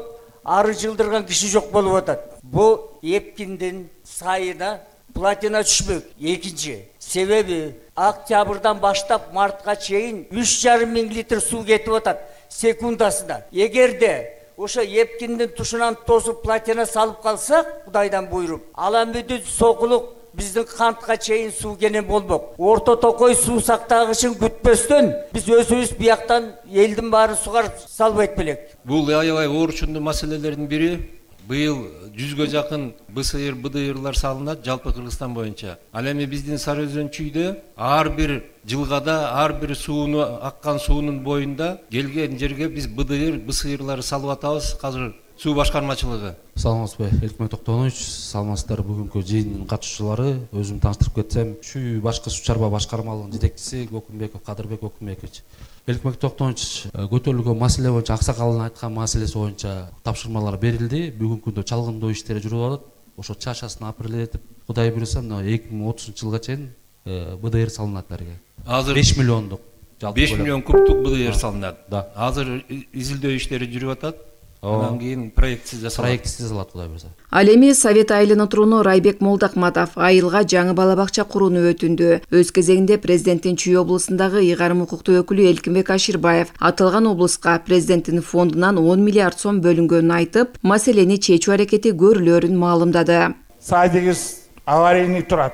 ары жылдырган киши жок болуп атат. Бу Эпкиндин сайына платина түшпөк. Экинчи себеби октябрдан баштап мартка чейин үч жарым миң литр суу кетип атат секундасына. Эгерде ошо Эпкиндин тушунан тосуп платина салып калсак, Кудайдан буйруп, Аламүдүн сокулук биздин кантка чейин суу кенен болмок. Орто Токой суу сактагычын күтпөстөн биз өзүбүз бияктан элдин баары сугарып салбайт белек. Бул аябай оорчундуу маселелердин бири. Быйыл жүзгө жакын БСР, БДРлар салынат жалпы Кыргызстан боюнча. Ал эми биздин Сары Өзөн чүйдө ар бир жылгада, ар бир сууну аккан суунун боюнда келген жерге биз БДР, БСРларды салып атабыз. Азыр суу башкармачылыгы. Саламатсызбы, Элкмет Токтонович, саламатсыздар. Бүгүнкү жыйындын катышуучулары, өзүм тааныштырып кетсем, Чүй башкы суу чарба башкармалыгынын жетекчиси Көкүмбеков Кадырбек Көкүмбекович. Элкмек Токтонович, көтөрүлгөн маселе боюнча, аксакалдын айткан маселеси боюнча тапшырмалар берилди. Бүгүнкү күндө чалгындоо иштери жүрүп атат. Ошо чачасын апрелдетип, Кудай буйруса, эки миң отузунчу жылга чейин БДР салынат элерге. Азыр беш миллиондук. беш миллион кубтук быдыйыр салынат. Азыр изилдөө иштери жүрүп атат. Анан кийин проектси жасалат. Проектси жасалат, Кудай буйрса. Ал эми Совет айылынын тургуну Райбек Молдакматов айылга жаңы бала бакча курууну өтүндү. Өз кезегинде президенттин Чүй облусундагы ыйгарым укуктуу өкүлү Элкинбек Аширбаев аталган облуска президенттин фондунан он миллиард сом бөлүнгөнүн айтып, маселени чечүү аракети көрүлөрүн маалымдады. Садыгыз аварийный турат,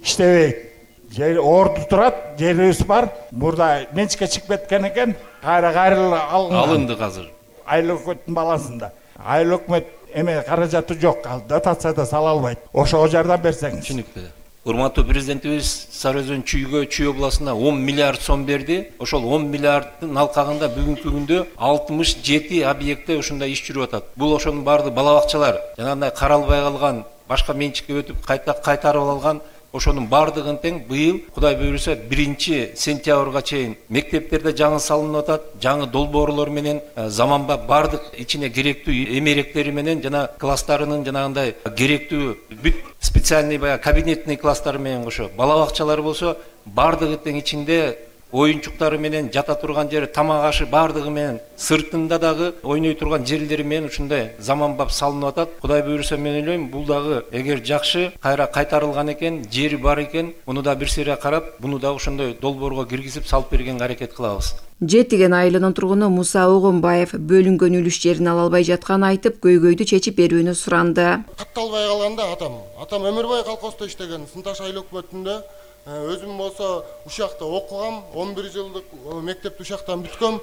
иштебейт. Жер орду турат, жерибиз бар. Мурда менчикке чыгып кеткен экен, кайра кайрылып алынган. Алынды азыр. Айыл өкмөттүн баласында. Айыл өкмөт эме каражаты жок, дотация да сала албайт. Ошого жардам берсеңиз. Түшүнүктүү. Урматтуу президентибиз Сары Өзөн Чүйгө, Чүй областына он миллиард сом берди. Ошол он миллиарддын алкагында бүгүнкү күндө алтымыш жети объектте ушундай иш жүрүп атат. Бул ошонун баардыгы бала бакчалар, жанагындай каралбай калган, башка менчикке өтүп кайта кайтарып алган. Ошонун баардыгын тең быйыл Кудай буйруса биринчи сентябрга чейин мектептерде жаңы салынып атат, жаңы долбоорлор менен заманбап баардык ичине керектүү эмеректери менен жана класстарынын жанагындай керектүү бүт специальный баягы кабинетный класстары менен кошо бала бакчалар болсо баардыгы тең ичинде оюнчуктары менен жата турган жери, тамак ашы баардыгы менен, сыртында дагы ойной турган жерлери менен ушундай заманбап салынып атат. Кудай буйруса мен ойлойм, бул дагы эгер жакшы кайра кайтарылган экен, жери бар экен, муну да бир сере карап, буну да ошондой долбоорго киргизип салып бергенге аракет кылабыз. Жетиген айылынын тургуну Муса Огонбаев бөлүнгөн үлүш жерин ала албай жатканын айтып, көйгөйдү чечип берүүнү суранды. Катталбай калганда атам, атам өмүр бою колхоздо иштеген, Сынташ айыл өкмөтүндө. Өзүм болсо ушакта окугам, он бир жылдык мектепти ушактан бүткөм.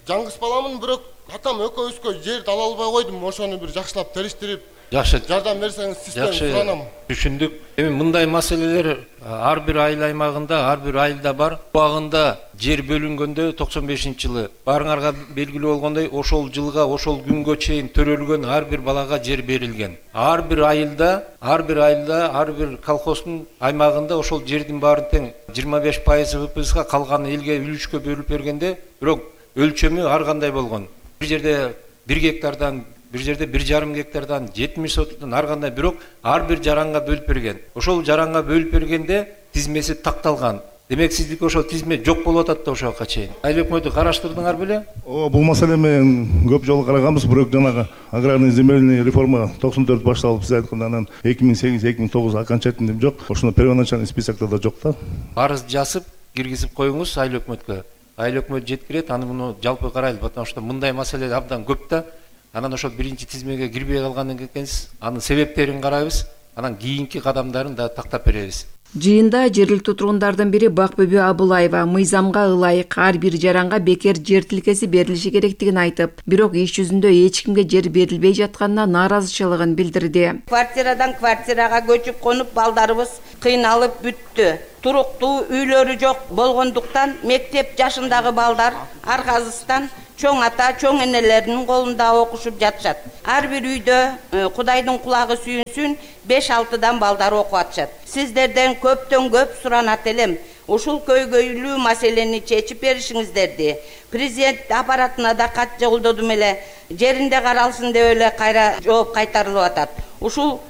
Жаңгыс баламын, бирок атам экөөбүзгө жерди ала албай койдум. Ошону бир жакшылап териштирип, жакшы жардам берсеңиз систем суранам. Түшүндүк. Эми мындай маселелер ар бир айыл аймагында, ар бир айылда бар. Убагында жер бөлүнгөндө токсон бешинчи жылы баарыңарга белгилүү болгондой, ошол жылга, ошол күнгө чейин төрөлгөн ар бир балага жер берилген. Ар бир айылда, ар бир айылда, ар бир колхоздун аймагында ошол жердин баарын тең жыйырма беш пайызы вэ пэ эске, калганы элге үлүшкө бөлүп бергенде, бирок өлчөмү ар кандай болгон. Бир жерде бир гектардан, бир жерде бир жарым гектардан, жетимиш сотуктан ар кандай, бирок ар бир жаранга бөлүп берген. Ошол жаранга бөлүп бергенде тизмеси такталган. Демек сиздики ошол тизме жок болуп атат да ошого чейин. Айыл өкмөтү караштырдыңар беле? О, бул маселе менен көп жолу караганбыз, бирок жанагы аграрный земельный реформа токсон төрт башталып, сиз айткандай анан эки миң сегиз эки миң тогуз окончательный жок. Ошоно первоначальный списокто да жок да. Арыз жазып, киргизип коюңуз айыл өкмөткө. Айыл өкмөт жеткирет, аны муну жалпы карайлы, потому что мындай маселе абдан көп да. Анан ошол биринчи тизмеге кирбей калган экенсиз, анын себептерин карайбыз, анан кийинки кадамдарын да тактап беребиз. Жыйында жергиликтүү тургундардын бири Бакбүбү Абылаева мыйзамга ылайык ар бир жаранга бекер жер тилкеси берилиши керектигин айтып, бирок иш жүзүндө эч кимге жер берилбей жатканына нааразычылыгын билдирди. Квартирадан квартирага көчүп конуп балдарыбыз кыйналып бүттү. Туруктуу үйлөрү жок болгондуктан мектеп жашындагы балдар арказыстан чоң ата, чоң энелеринин колунда окушуп жатышат. Ар бир үйдө Кудайдын кулагы сүйүнсүн, беш алтыдан балдар окуп атышат. Сиздерден көптөн көп суранат элем. Ушул көйгөйлүү маселени чечип беришиңиздерди. Президент аппаратына да кат жолдодум эле, жеринде каралсын деп эле кайра жооп кайтарылып атат. Ушул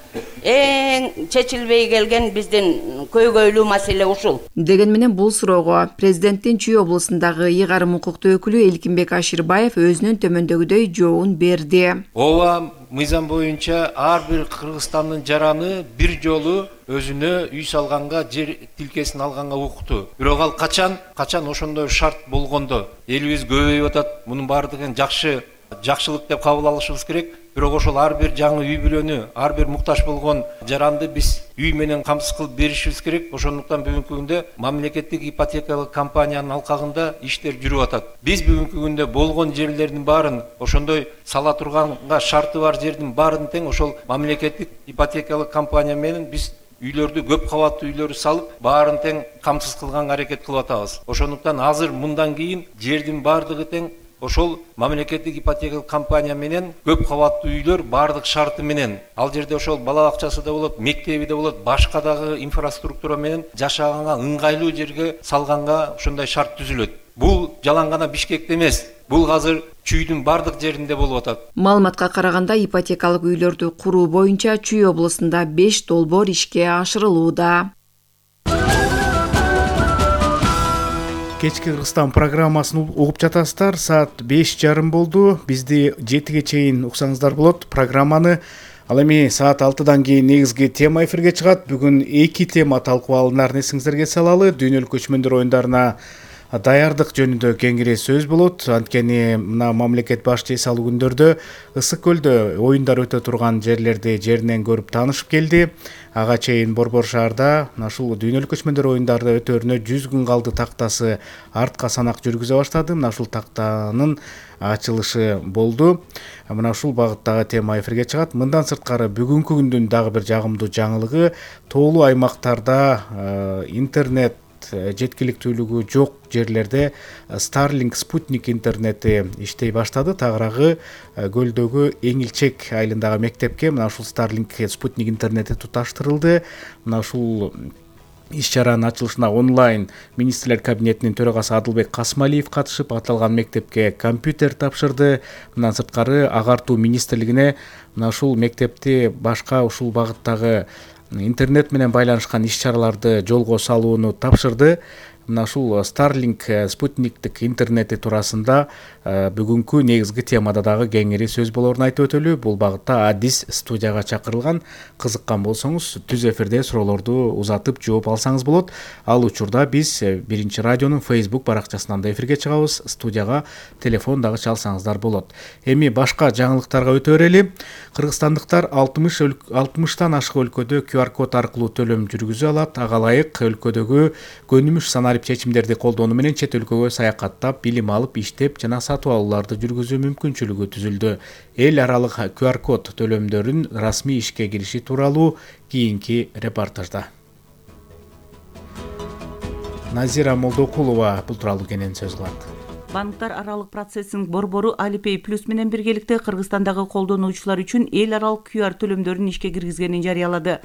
эң чечилбей келген биздин көйгөйлүү маселе ушул. Деген менен бул суроого президенттин Чүй облусундагы ыйгарым укуктуу өкүлү Элкинбек Аширбаев өзүнүн төмөндөгүдөй жообун берди. Ооба, мыйзам боюнча ар бир Кыргызстандын жараны бир жолу өзүнө үй салганга, жер тилкесин алганга укуктуу. Бирок ал качан, качан ошондой шарт болгондо элибиз көбөйүп атат. Мунун баардыгын жакшы, жакшылык деп кабыл алышыбыз керек. Бирок ошол ар бир жаңы үй бүлөнү, ар бир муктаж болгон жаранды биз үй менен камсыз кылып беришибиз керек. Ошондуктан бүгүнкү күндө мамлекеттик ипотекалык компаниянын алкагында иштер жүрүп атат. Биз бүгүнкү күндө болгон жерлердин баарын, ошондой сала турганга шарты бар жердин баарын тең ошол мамлекеттик ипотекалык компания менен биз үйлөрдү, көп кабаттуу үйлөрдү салып, баарын тең камсыз кылганга аракет кылып атабыз. Ошондуктан азыр мындан кийин жердин баардыгы тең ошол мамлекеттик ипотекалык компания менен көп кабаттуу үйлөр баардык шарты менен. Ал жерде ошол бала бакчасы да болот, мектеби да болот, башка дагы инфраструктура менен жашаганга ыңгайлуу жерге салганга ошондой шарт түзүлөт. Бул жалаң гана Бишкекте эмес. Бул азыр Чүйдүн бардык жеринде болуп атат. Маалыматка караганда ипотекалык үйлөрдү куруу боюнча Чүй облусунда беш долбоор ишке ашырылууда. Кечки Кыргызстан программасын угуп жатасыздар. Саат беш жарым болду. Бизди жетиге чейин уксаңыздар болот. Программаны ал эми саат алтыдан кийин негизги тема эфирге чыгат. Бүгүн эки тема талкуу алынарын эсиңиздерге салалы. Дүйнөлүк көчмөндөр оюндарына даярдык жөнүндө кеңири сөз болот. Анткени мына мамлекет башчы эс алуу күндөрдө Ысык көлдө оюндар өтө турган жерлерди жеринен көрүп таанышып келди. Ага чейин Борбор шаарда мына ушул дүйнөлүк көчмөндөр оюндары өтөрүнө жүз күн калды тактасы артка санак жүргүзө баштады. Мына ушул тактанын ачылышы болду. Мына ушул багыттагы тема эфирге чыгат. Мындан сырткары бүгүнкү күндүн дагы бир жагымдуу жаңылыгы тоолуу аймактарда интернет жеткиликтүүлүгү жок жерлерде Starlink спутник интернети иштей баштады. Тагыраагы көлдөгү Эңилчек айылындагы мектепке мына ушул Starlink спутник интернети туташтырылды. Мына ушул иш-чаранын ачылышына онлайн министрлер кабинетинин төрагасы Адылбек Касмалиев катышып, аталган мектепке компьютер тапшырды. Мындан сырткары агартуу министрлигине мына ушул мектепти башка ушул багыттагы интернет менен байланышкан иш-чараларды жолго салууну тапшырды. Мына ушул Starlink спутниктик интернети туурасында бүгүнкү негизги темада дагы кеңири сөз болорун айтып өтөлү. Бул багытта Адис студияга чакырылган. Кызыккан болсоңуз түз эфирде суроолорду узатып жооп алсаңыз болот. Ал учурда биз Биринчи радионун Facebook баракчасынан да эфирге чыгабыз. Студияга телефон дагы чалсаңыздар болот. Эми башка жаңылыктарга өтө берели. Кыргызстандыктар алтымыштан ашык өлкөдө ку ар код аркылуу төлөм жүргүзө алат. Ага ылайык өлкөдөгү көнүмүш санарип чечимдерди колдонуу менен чет өлкөгө саякаттап, билим алып, иштеп жана сатып алууларды жүргүзүү мүмкүнчүлүгү түзүлдү. Эл аралык ку ар код төлөмдөрүн расмий ишке кириши тууралуу кийинки репортажда. Назира Молдокулова бул тууралуу кенен сөз кылат. Банктар аралык процессинг борбору Alipay Plus менен биргеликте Кыргызстандагы колдонуучулар үчүн эл аралык ку ар төлөмдөрүн ишке киргизгенин жарыялады.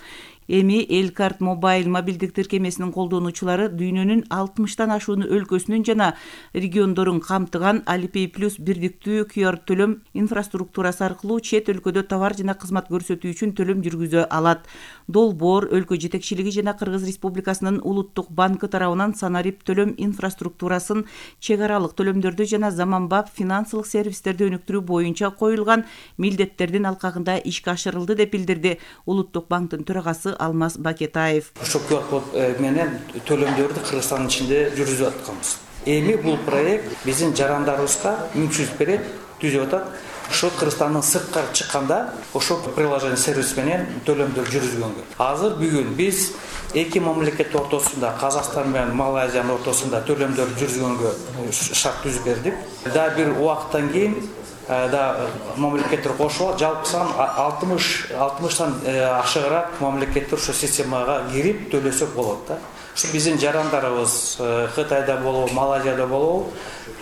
Эми Элкарт мобайл мобилдик тиркемесинин колдонуучулары дүйнөнүн алтымыштан ашуун өлкөсүнүн жана региондорун камтыган Alipay Plus бирдиктүү ку ар төлөм инфраструктурасы аркылуу чет өлкөдө товар жана кызмат көрсөтүү үчүн төлөм жүргүзө алат. Долбоор өлкө жетекчилиги жана Кыргыз Республикасынын Улуттук банкы тарабынан санарип төлөм инфраструктурасын чек аралык төлөмдөрдү жана заманбап финансылык сервистерди өнүктүрүү боюнча коюлган милдеттердин алкагында ишке ашырылды деп билдирди Улуттук банктын төрагасы Алмаз Бакетаев. Ошол ку ар код менен төлөмдөрдү Кыргызстандын ичинде жүргүзүп атканбыз. Эми бул проект биздин жарандарыбызга мүмкүнчүлүк берет, түзүп атат. Ошо Кыргызстандын сырткары чыкканда ошол приложение сервис менен төлөмдөр жүргүзгөнгө. Азыр бүгүн биз эки мамлекет ортосунда, Казакстан менен Малайзиянын ортосунда төлөмдөр жүргүзгөнгө шарт түзүп бердик. Да бир убакыттан кийин да мамлекеттер кошулат, жалпы сан алтымыштан ашыгыраак мамлекеттер ошо системага кирип төлөсөк болот да. Ушу биздин жарандарыбыз Кытайда болобу, Малайзияда болобу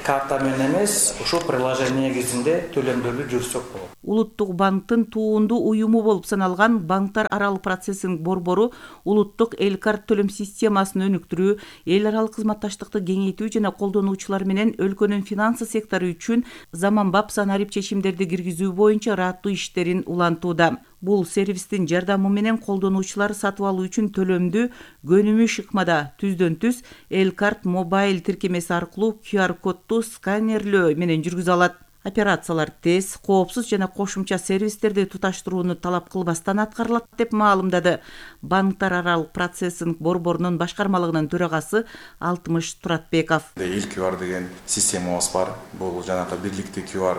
карта менен эмес, ушул приложение негизинде төлөмдөрдү жүргүзсөк болот. Улуттук банктын туундуу уюму болуп саналган банктар аралык процессинг борбору улуттук Элкарт төлөм системасын өнүктүрүү, эл аралык кызматташтыкты кеңейтүү жана колдонуучулар менен өлкөнүн финансы сектору үчүн заманбап санарип чечимдерди киргизүү боюнча ыраттуу иштерин улантууда. Бул сервистин жардамы менен колдонуучулар сатып алуу үчүн төлөмдү көнүмүш ыкмада түздөн түз Элкарт мобайл тиркемеси аркылуу ку ар кодду сканерлөө менен жүргүзө алат. Операциялар тез, коопсуз жана кошумча сервистерди туташтырууну талап кылбастан аткарылат деп маалымдады банктар аралык процессинг борборунун башкармалыгынын төрагасы Алтымыш Туратбеков. Эл ку ар деген системабыз бар. Бул жанагы бирликтүү ку ар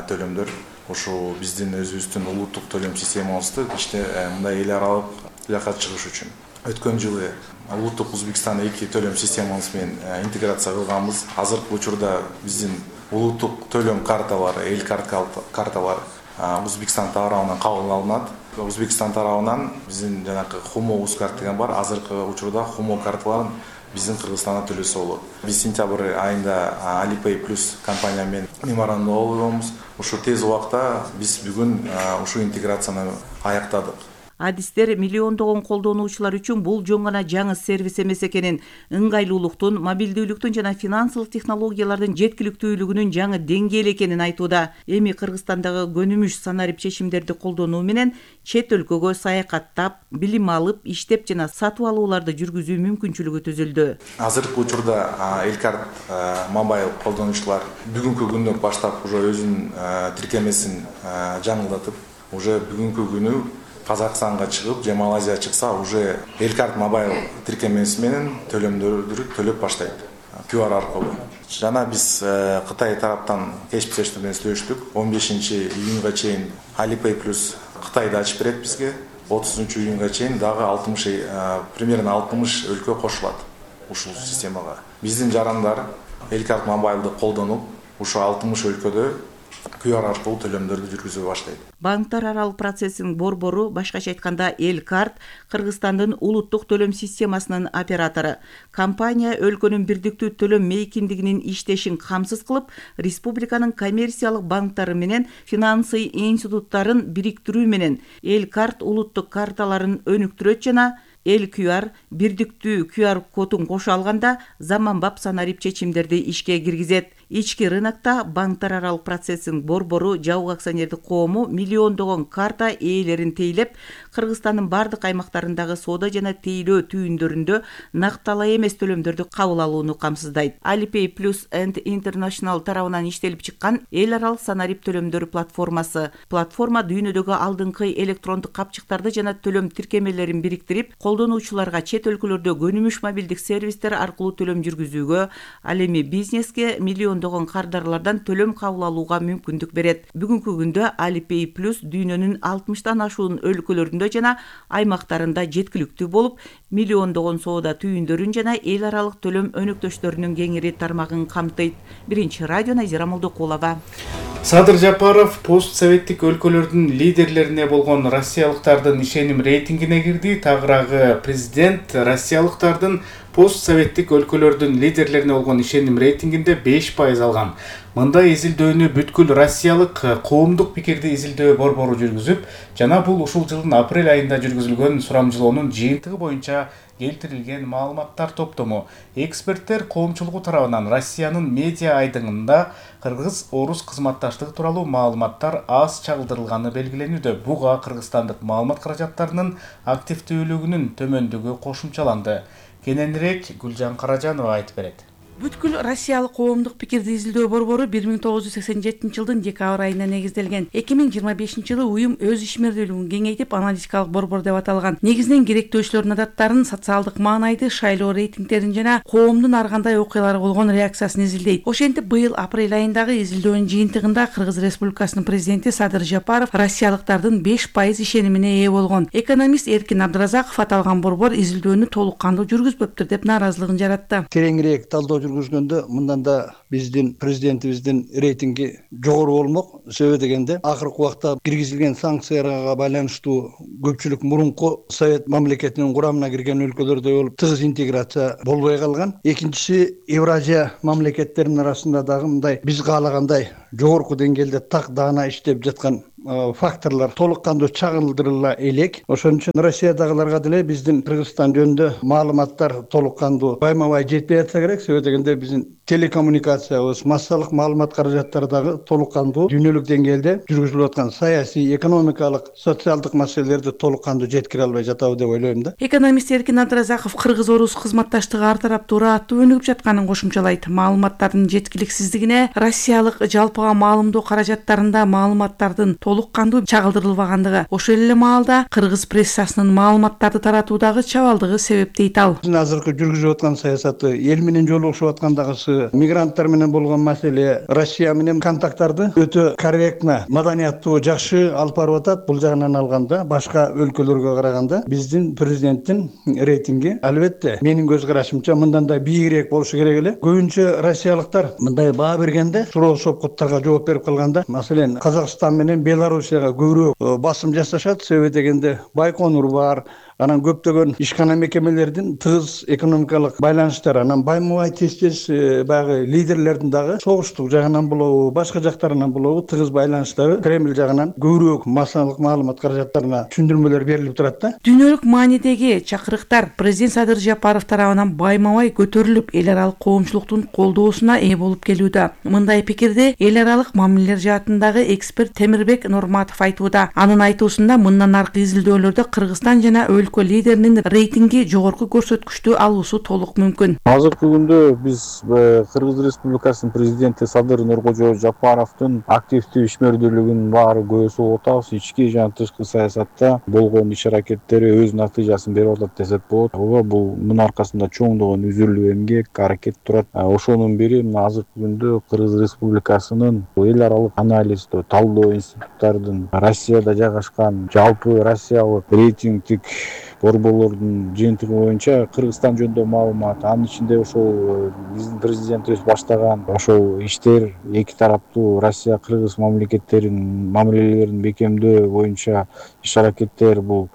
төлөмдөр. Ошо биздин өзүбүздүн улуттук төлөм системабызды иште мындай эл аралык жакка чыгыш үчүн өткөн жылы улуттук Өзбекстан эки төлөм системабыз менен интеграция кылганбыз. Азыркы учурда биздин улуттук төлөм карталары, эл карталары Өзбекстан тарабынан кабыл алынат. Өзбекстан тарабынан биздин жанагы Хумо Ускарт деген бар. Азыркы учурда Хумо карталарын биздин Кыргызстанда төлөсө болот. Биз сентябрь айында Alipay Plus компания менен меморандум алганбыз. Ушу тез убакта биз бүгүн ушул интеграцияны аяктадык. адистер миллиондогон колдонуучулар үчүн бул жөн гана жаңы сервис эмес экенин, ыңгайлуулуктун, мобилдүүлүктүн жана финансылык технологиялардын жеткиликтүүлүгүнүн жаңы деңгээли экенин айтууда. Эми Кыргызстандагы көнүмүш санарип чечимдерди колдонуу менен чет өлкөгө саякаттап, билим алып, иштеп жана сатып алууларды жүргүзүү мүмкүнчүлүгү түзүлдү. Азыркы учурда Элкарт мобайл колдонуучулар бүгүнкү күндөн баштап уже өзүнүн тиркемесин жаңылдатып, уже бүгүнкү күнү Казакстанга чыгып, же Малайзия чыкса, уже Элкарт мобайл тиркемеси менен төлөмдөрдү төлөп баштайт. ку ар аркылуу. Жана биз Кытай тараптан кеспештер менен сүйлөштүк. он бешинчи июнга чейин Alipay плюс Кытайды ачып берет бизге. отузунчу июнга чейин дагы алтымыш примерно алтымыш өлкө кошулат ушул системага. Биздин жарандар Элкарт мобайлды колдонуп, ушул алтымыш өлкөдө ку ар аркылуу төлөмдөрдү жүргүзө баштайт. Банктар аралык процесстин борбору, башкача айтканда Элкарт, Кыргызстандын улуттук төлөм системасынын оператору. Компания өлкөнүн бирдиктүү төлөм мейкиндигинин иштешин камсыз кылып, республиканын коммерциялык банктары менен финансы институттарын бириктирүү менен Элкарт улуттук карталарын өнүктүрөт жана эл ку ар бирдиктүү ку ар кодун кошо алганда заманбап санарип чечимдерди ишке киргизет. Ички рынокто банктар аралык процесстин борбору жабык акционердик коому миллиондогон карта ээлерин тейлеп, Кыргызстандын бардык аймактарындагы соода жана тейлөө түйүндөрүндө накталай эмес төлөмдөрдү кабыл алууну камсыздайт. Alipay Plus and International тарабынан иштелип чыккан эл аралык санарип төлөмдөр платформасы. Платформа дүйнөдөгү алдыңкы электрондук капчыктарды жана төлөм тиркемелерин бириктирип, колдонуучуларга чет өлкөлөрдө көнүмүш мобилдик сервистер аркылуу төлөм жүргүзүүгө, ал эми бизнеске миллиондогон кардарлардан төлөм кабыл алууга мүмкүндүк берет. Бүгүнкү күндө Alipay Plus дүйнөнүн алтымыштан ашуун өлкөлөрүндө жана аймактарында жеткиликтүү болуп, миллиондогон соода түйүндөрүн жана эл аралык төлөм өнөктөштөрүнүн кеңири тармагын камтыйт. Биринчи радио Назира Молдокулова. Садыр Жапаров постсоветтик өлкөлөрдүн лидерлерине болгон россиялыктардын ишеним рейтингине кирди. Тагыраагы президент россиялыктардын постсоветтик өлкөлөрдүн лидерлерине болгон ишеним рейтингинде беш пайыз алган. Мындай изилдөөнү бүткүл россиялык коомдук пикирди изилдөө борбору жүргүзүп, жана бул ушул жылдын апрель айында жүргүзүлгөн сурамжылоонун жыйынтыгы боюнча келтирилген маалыматтар топтому. Эксперттер коомчулугу тарабынан Россиянын медиа айдыңында кыргыз-орус кызматташтыгы тууралуу маалыматтар аз чагылдырылганы белгиленүүдө. Буга кыргызстандык маалымат каражаттарынын активдүүлүгүнүн төмөндүгү кошумчаланды. Кененирээк Гүлжан Каражанова айтып берет. Бүткүл Россиялык коомдук пикирди изилдөө борбору бир миң тогуз жүз сексен жетинчи жылдын декабрь айына негизделген. эки миң жыйырма бешинчи жылы уюм өз ишмердүүлүгүн кеңейтип, аналитикалык борбор деп аталган. Негизинен керектөөчүлөрдүн адаттарын, социалдык маанайды, шайлоо рейтингтерин жана коомдун ар кандай окуяларга болгон реакциясын изилдейт. Ошентип, быйыл апрель айындагы изилдөөнүн жыйынтыгында Кыргыз Республикасынын президенти Садыр Жапаров россиялыктардын беш пайыз ишенимине ээ болгон. Экономист Эркин Абдыразаков аталган борбор изилдөөнү толук кандуу жүргүзбөптүр деп нааразылыгын жаратты. Тереңирээк талдоо жүргүзгөндө мындан да биздин президентибиздин рейтинги жогору болмок. Себеби дегенде акыркы убакта киргизилген санкцияларга байланыштуу көпчүлүк мурунку совет мамлекетинин курамына кирген өлкөлөрдөй болуп тыгыз интеграция болбой калган. Экинчиси, Евразия мамлекеттеринин арасында дагы мындай биз каалагандай жогорку деңгээлде так даана иштеп жаткан факторлор толук кандуу чагылдырыла элек. Ошон үчүн Россиядагыларга деле биздин Кыргызстан жөнүндө маалыматтар толук кандуу байма бай жетпей жатса керек. Себеби дегенде биздин телекоммуникациябыз, массалык маалымат каражаттары дагы толук кандуу дүйнөлүк деңгээлде жүргүзүлүп аткан саясий, экономикалык, социалдык маселелерди толук кандуу жеткире албай жатабы деп ойлойм да. Экономист Эркин Абдыразаков кыргыз-орус кызматташтыгы ар тараптуу ырааттуу өнүгүп жатканын кошумчалайт. Маалыматтардын жеткиликсиздигине, Россиялык жалпыга маалымдоо каражаттарында маалыматтардын толук кандуу чагылдырылбагандыгы, ошол эле маалда кыргыз прессасынын маалыматтарды таратуудагы чабалдыгы себеп дейт ал. Биздин азыркы жүргүзүп аткан саясаты, эл менен жолугушуп аткандагысы, мигранттар менен болгон маселе, Россия менен контакттарды өтө корректно, маданияттуу, жакшы алып барып атат. Бул жагынан алганда, башка өлкөлөргө караганда биздин президенттин рейтинги албетте менин көз карашымча мындан да бийигирээк болушу керек эле. Көбүнчө россиялыктар мындай баа бергенде, суроо сопкоттарга жооп берип калганда, маселен, Казакстан менен Белоруссияга көбүрөөк басым жасашат. Себеби дегенде Байконур бар, анан көптөгөн ишкана мекемелердин тыгыз экономикалык байланыштары, анан байма-бай тез-тез баягы лидерлердин дагы согуштук жагынан болобу, башка жактарынан болобу тыгыз байланыштары Кремль жагынан көбүрөөк массалык маалымат каражаттарына түшүндүрмөлөр берилип турат да. Дүйнөлүк маанидеги чакырыктар президент Садыр Жапаров тарабынан байма-бай көтөрүлүп, эл аралык коомчулуктун колдоосуна ээ болуп келүүдө. Мындай пикирди эл аралык мамилелер жаатындагы эксперт Темирбек Нурматов айтууда. Анын айтуусунда мындан аркы изилдөөлөрдө Кыргызстан жана өлкө лидеринин рейтинги жогорку көрсөткүчтү алуусу толук мүмкүн. Азыркы күндө биз Кыргыз Республикасынын президенти Садыр Нуркожо Жапаровдун активдүү ишмердүүлүгүнүн баары көз болуп атабыз. Ички жана тышкы саясатта болгон иш аракеттери өз натыйжасын берип атат десек болот. Ооба, бул мунун аркасында чоңдогон үзүлүү эмгек, аракет турат. Ошонун бири мына азыркы күндө Кыргыз Республикасынын эл аралык анализдөө, талдоо институттардын Россияда жайгашкан жалпы Россиялык рейтингдик борборлордун жыйынтыгы боюнча Кыргызстан жөнүндө маалымат, анын ичинде ошол биздин президентибиз баштаган ошол иштер эки тараптуу Россия Кыргыз мамлекеттеринин мамилелерин бекемдөө боюнча иш аракеттер бул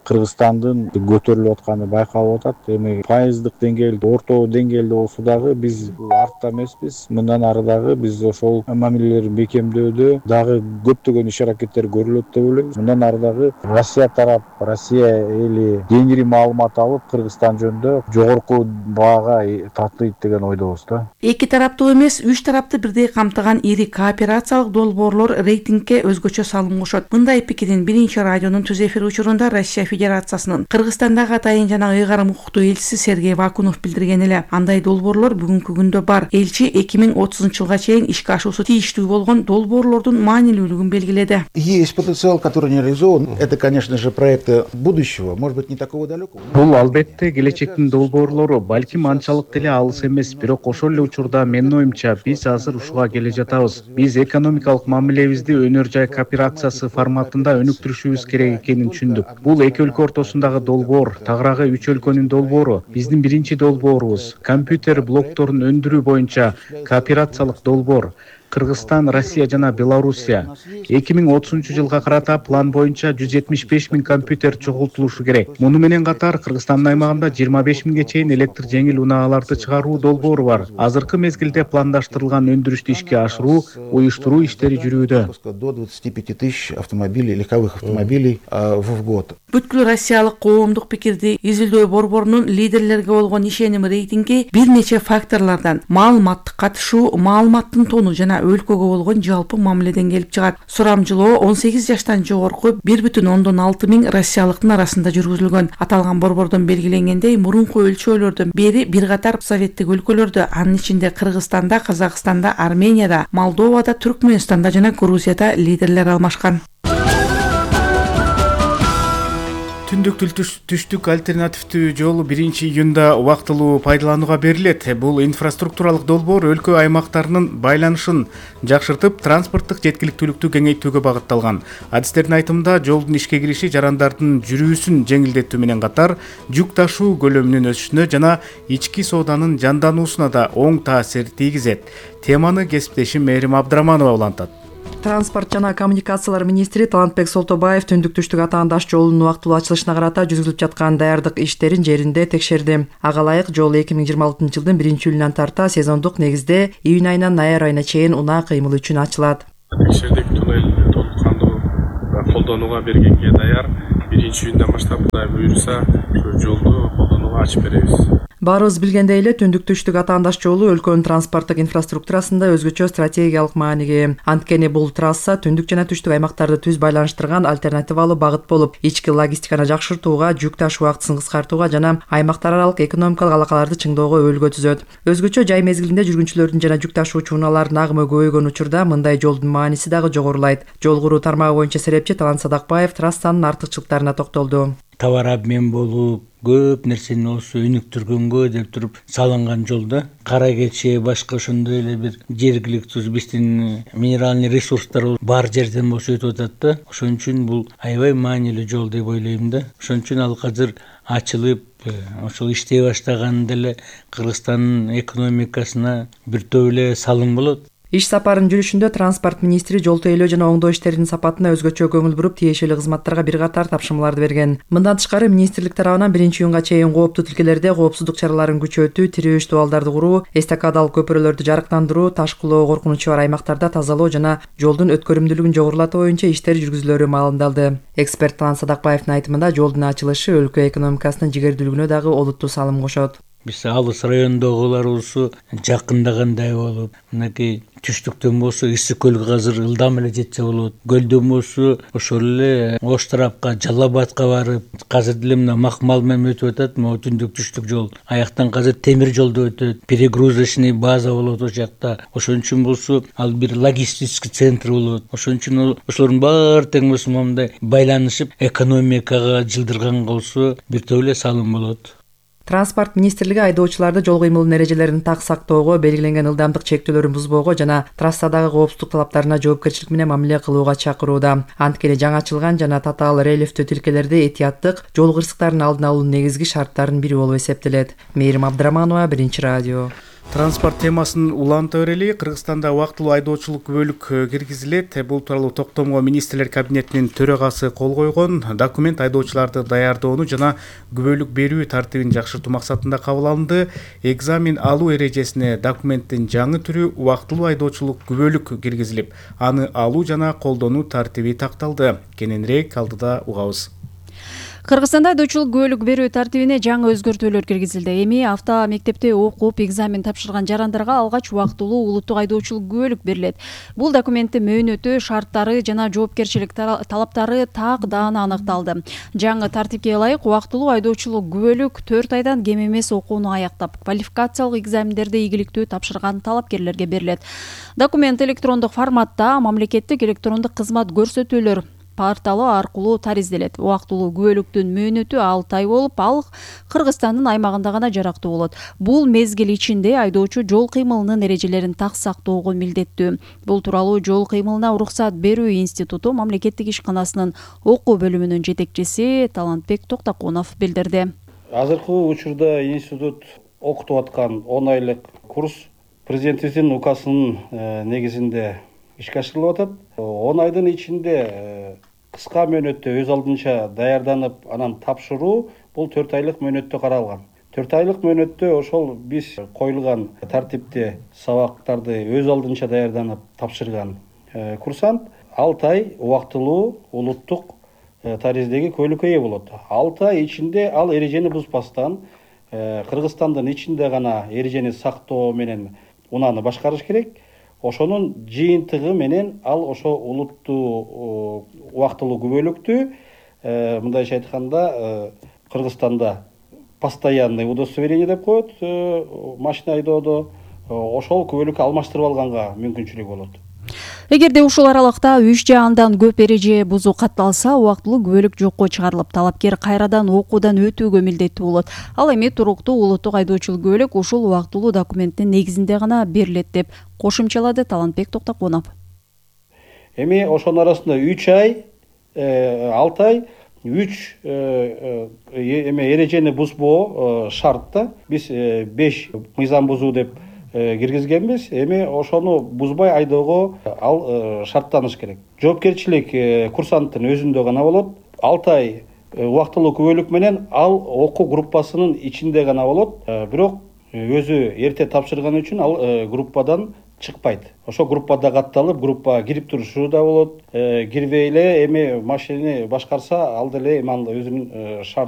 Кыргызстандын көтөрүлүп атканы байкалып атат. Эми пайыздык деңгээлде, орто деңгээлде болсо дагы биз артта эмеспиз. Мындан ары дагы биз ошол мамилелерин бекемдөөдө дагы көптөгөн иш аракеттер көрүлөт деп ойлойбуз. Мындан ары дагы Россия тарап, Россия эли кеңири маалымат алып, Кыргызстан жөнүндө жогорку баага татыйт деген ойдобуз да. Эки тараптуу эмес, үч тарапты бирдей камтыган ири кооперациялык долбоорлор рейтингке өзгөчө салым кошот. Мындай пикирин биринчи радионун түз эфир учурунда Россия Федерациясынын Кыргызстандагы атайын жана ыйгарым укуктуу элчиси Сергей Вакунов билдирген эле. Андай долбоорлор бүгүнкү күндө бар. Элчи эки миң отузунчу жылга чейин ишке ашуусу тийиштүү болгон долбоорлордун маанилүүлүгүн белгиледи. Есть потенциал, который не реализован. Это, конечно же, проекты будущего, может быть, не такого далекого. Бул албетте келечектин долбоорлору, балким анчалык деле алыс эмес, бирок ошол эле учурда менин оюмча биз азыр ушуга келе жатабыз. Биз экономикалык мамилебизди өнөр жай кооперациясы форматында өнүктүрүшүбүз керек экенин түшүндүк. Бул эки өлкө ортосундагы долбоор, тагыраагы үч өлкөнүн долбоору, биздин биринчи долбоорубуз. Компьютер блокторун өндүрүү боюнча кооперациялык долбоор. Кыргызстан, Россия жана Белоруссия. эки миң отузунчу жылга карата план боюнча жүз жетимиш беш миң компьютер чогултулушу керек. Муну менен катар Кыргызстандын аймагында жыйырма беш миңге чейин электр жеңил унааларды чыгаруу долбоору бар. Азыркы мезгилде пландаштырылган өндүрүштү ишке ашыруу, уюштуруу иштери жүрүүдө. До двадцати пяти тысяч автомобилей, легковых автомобилей в год. Бүткүл Россиялык коомдук пикирди изилдөө борборунун лидерлерге болгон ишеним рейтинги бир нече факторлордон маалыматтык катышуу, маалыматтын тону жана өлкөгө болгон жалпы мамиледен келип чыгат. Сурамжылоо он сегиз жаштан жогорку бир бүтүн ондон алты миң россиялыктын арасында жүргүзүлгөн. Аталган борбордон белгиленгендей, мурунку өлчөөлөрдөн бери бир катар советтик өлкөлөрдө, анын ичинде Кыргызстанда, Казакстанда, Арменияда, Молдовада, Түркмөнстанда жана Грузияда лидерлер алмашкан. Түндүк түштүк альтернативдүү жол биринчи июнда убактылуу пайдаланууга берилет. Бул инфраструктуралык долбоор өлкө аймактарынын байланышын жакшыртып, транспорттук жеткиликтүүлүктү кеңейтүүгө багытталган. Адистердин айтымында, жолдун ишке кириши жарандардын жүрүүсүн жеңилдетүү менен катар, жүк ташуу көлөмүнүн өсүшүнө жана ички сооданын жандануусуна да оң таасир тийгизет. Теманы кесиптешим Мээрим Абдыраманова улантат. Транспорт жана коммуникациялар министри Талантбек Солтобаев түндүк түштүк атаандаш жолунун убактылуу ачылышына карата жүргүзүлүп жаткан даярдык иштерин жеринде текшерди. Ага ылайык жол эки миң жыйырма алтынчы жылдын биринчи июлунан тарта сезондук негизде июнь айынан ноябрь айына чейин унаа кыймылы үчүн ачылат. Текшердик, туннель толук кандуу колдонууга бергенге даяр. биринчи июндан баштап Кудай буйруса жолду колдонууга ачып беребиз. Баарыбыз билгендей эле түндүк түштүк атаандаш жолу өлкөнүн транспорттук инфраструктурасында өзгөчө стратегиялык мааниге. Анткени бул трасса түндүк жана түштүк аймактарды түз байланыштырган альтернативалуу багыт болуп, ички логистиканы жакшыртууга, жүк ташуу убактысын кыскартууга жана аймактар аралык экономикалык алакаларды чыңоого өбөлгө түзөт. Өзгөчө жай мезгилинде жүргүнчүлөрдүн жана жүк ташуучу унаалардын агымы көбөйгөн учурда мындай жолдун мааниси дагы жогорулайт. Жол куруу тармагы боюнча серепчи Талант Садакбаев трассанын артыкчылыктарына токтолду. Товар обмен болуп, көп нерсени болсо өнүктүргөнгө деп туруп салынган жолда кара кече башка ошондой эле бир жергиликтүү биздин минеральный ресурстар бар жерден болсо өтүп атат да. Ошон үчүн бул аябай маанилүү жол деп ойлойм да. Ошон үчүн ал азыр ачылып, ошол иштей баштаганда эле Кыргызстандын экономикасына бир топ эле салым болот. Иш сапарынын жүрүшүндө транспорт министри жол тейлөө жана оңдоо иштеринин сапатына өзгөчө көңүл буруп, тиешелүү кызматтарга бир катар тапшырмаларды берген. Мындан тышкары министрлик тарабынан биринчи июнга чейин кооптуу тилкелерде коопсуздук чараларын күчөтүү, тирөөч дубалдарды куруу, эстакадалык көпүрөлөрдү жарыктандыруу, таш кулоо коркунучу бар аймактарда тазалоо жана жолдун өткөрүмдүүлүгүн жогорулатуу боюнча иштер жүргүзүлөрү маалымдалды. Эксперт Талант Садакбаевдин айтымында жолдун ачылышы өлкө экономикасынын жигердүүлүгүнө дагы олуттуу салым кошот. Биз алыс райондогуларыбызы жакындагандай болуп, мынакей түштүктөн болсо Ысык көлгө азыр ылдам эле жетсе болот. Көлдөн болсо ошол эле Ош тарапка, Жалал Абадка барып, азыр деле мына Макмал менен өтүп атат, могу түндүк түштүк жол. Аяктан азыр темир жолдо өтөт, перегрузочный база болот ошол жакта. Ошон үчүн болсо ал бир логистический центр болот. Ошон үчүн ошолордун баары тең болсо мындай байланышып, экономикага жылдырган болсо бир топ эле салым болот. Транспорт министрлиги айдоочуларды жол кыймылынын эрежелерин так сактоого, белгиленген ылдамдык чектөөлөрүн бузбоого жана трассадагы коопсуздук талаптарына жоопкерчилик менен мамиле кылууга чакырууда. Анткени жаңачылган жана татаал рельефтүү тилкелерде этияттык жол кырсыктарын алдын алуунун негизги шарттарынын бири болуп эсептелет. Мээрим Абдыраманова, Биринчи радио. Транспорт темасын уланта берели. Кыргызстанда убактылуу айдоочулук күбөлүк киргизилет. Бул тууралуу токтомго министрлер кабинетинин төрагасы кол койгон. Документ айдоочуларды даярдоону жана күбөлүк берүү тартибин жакшыртуу максатында кабыл алынды. Экзамен алуу эрежесине документтин жаңы түрү убактылуу айдоочулук күбөлүк киргизилип, аны алуу жана колдонуу тартиби такталды. Кененирээк алдыда угабыз. Кыргызстанда айдоочулук күбөлүк берүү тартибине жаңы өзгөртүүлөр киргизилди. Эми авто мектепте окуп, экзамен тапшырган жарандарга алгач убактылуу улуттук айдоочулук күбөлүк берилет. Бул документтин мөөнөтү, шарттары жана жоопкерчилик талаптары так даана аныкталды. Жаңы тартипке ылайык убактылуу айдоочулук күбөлүк төрт айдан кем эмес окууну аяктап, квалификациялык экзамендерди ийгиликтүү тапшырган талапкерлерге берилет. Документ электрондук форматта мамлекеттик электрондук кызмат көрсөтүүлөр порталы аркылуу таризделет. Убактылуу күбөлүктүн мөөнөтү алты ай болуп, ал Кыргызстандын аймагында гана жарактуу болот. Бул мезгил ичинде айдоочу жол кыймылынын эрежелерин так сактоого милдеттүү. Бул тууралуу жол кыймылына уруксат берүү институту мамлекеттик ишканасынын окуу бөлүмүнүн жетекчиси Талантбек Токтокунов билдирди. Азыркы учурда институт окутуп аткан он айлык курс президентибиздин указынын негизинде ишке ашырылып атат. он айдын ичинде кыска мөөнөттө өз алдынча даярданып, анан тапшыруу бул төрт айлык мөөнөттө каралган. төрт айлык мөөнөттө ошол биз коюлган тартипте сабактарды өз алдынча даярданып тапшырган курсант алты ай убактылуу улуттук тариздеги күбөлүккө ээ болот. алты ай ичинде ал эрежени бузбастан Кыргызстандын ичинде гана эрежени сактоо менен унааны башкарыш керек. Ошонун жыйынтыгы менен ал ошо улуттуу убактылуу күбөлүктү мындайча айтканда Кыргызстанда постоянный удостоверение деп коет машина айдоодо, ошол күбөлүккө алмаштырып алганга мүмкүнчүлүк болот. Эгерде ушул аралыкта үч же андан көп эреже бузуу катталса, убактылуу күбөлүк жокко чыгарылып, талапкер кайрадан окуудан өтүүгө милдеттүү болот. Ал эми туруктуу улуттук айдоочулук күбөлүк ушул убактылуу документтин негизинде гана берилет деп кошумчалады Талантбек Токтокунов. Эми ошонун арасында үч ай, алты ай, үч эме эрежени бузбоо шартта. Биз беш мыйзам бузуу деп киргизгенбиз. Эми ошону бузбай айдоого ал шарттаныш керек. Жоопкерчилик курсанттын өзүндө гана болот. алты ай убактылуу күбөлүк менен ал окуу группасынын ичинде гана болот. Бирок өзү эрте тапшырган үчүн ал группадан чыкпайт. Ошо группада катталып, группага кирип турушу да болот. Кирбей эле эми машинени башкарса, ал деле эми өзүнүн шарт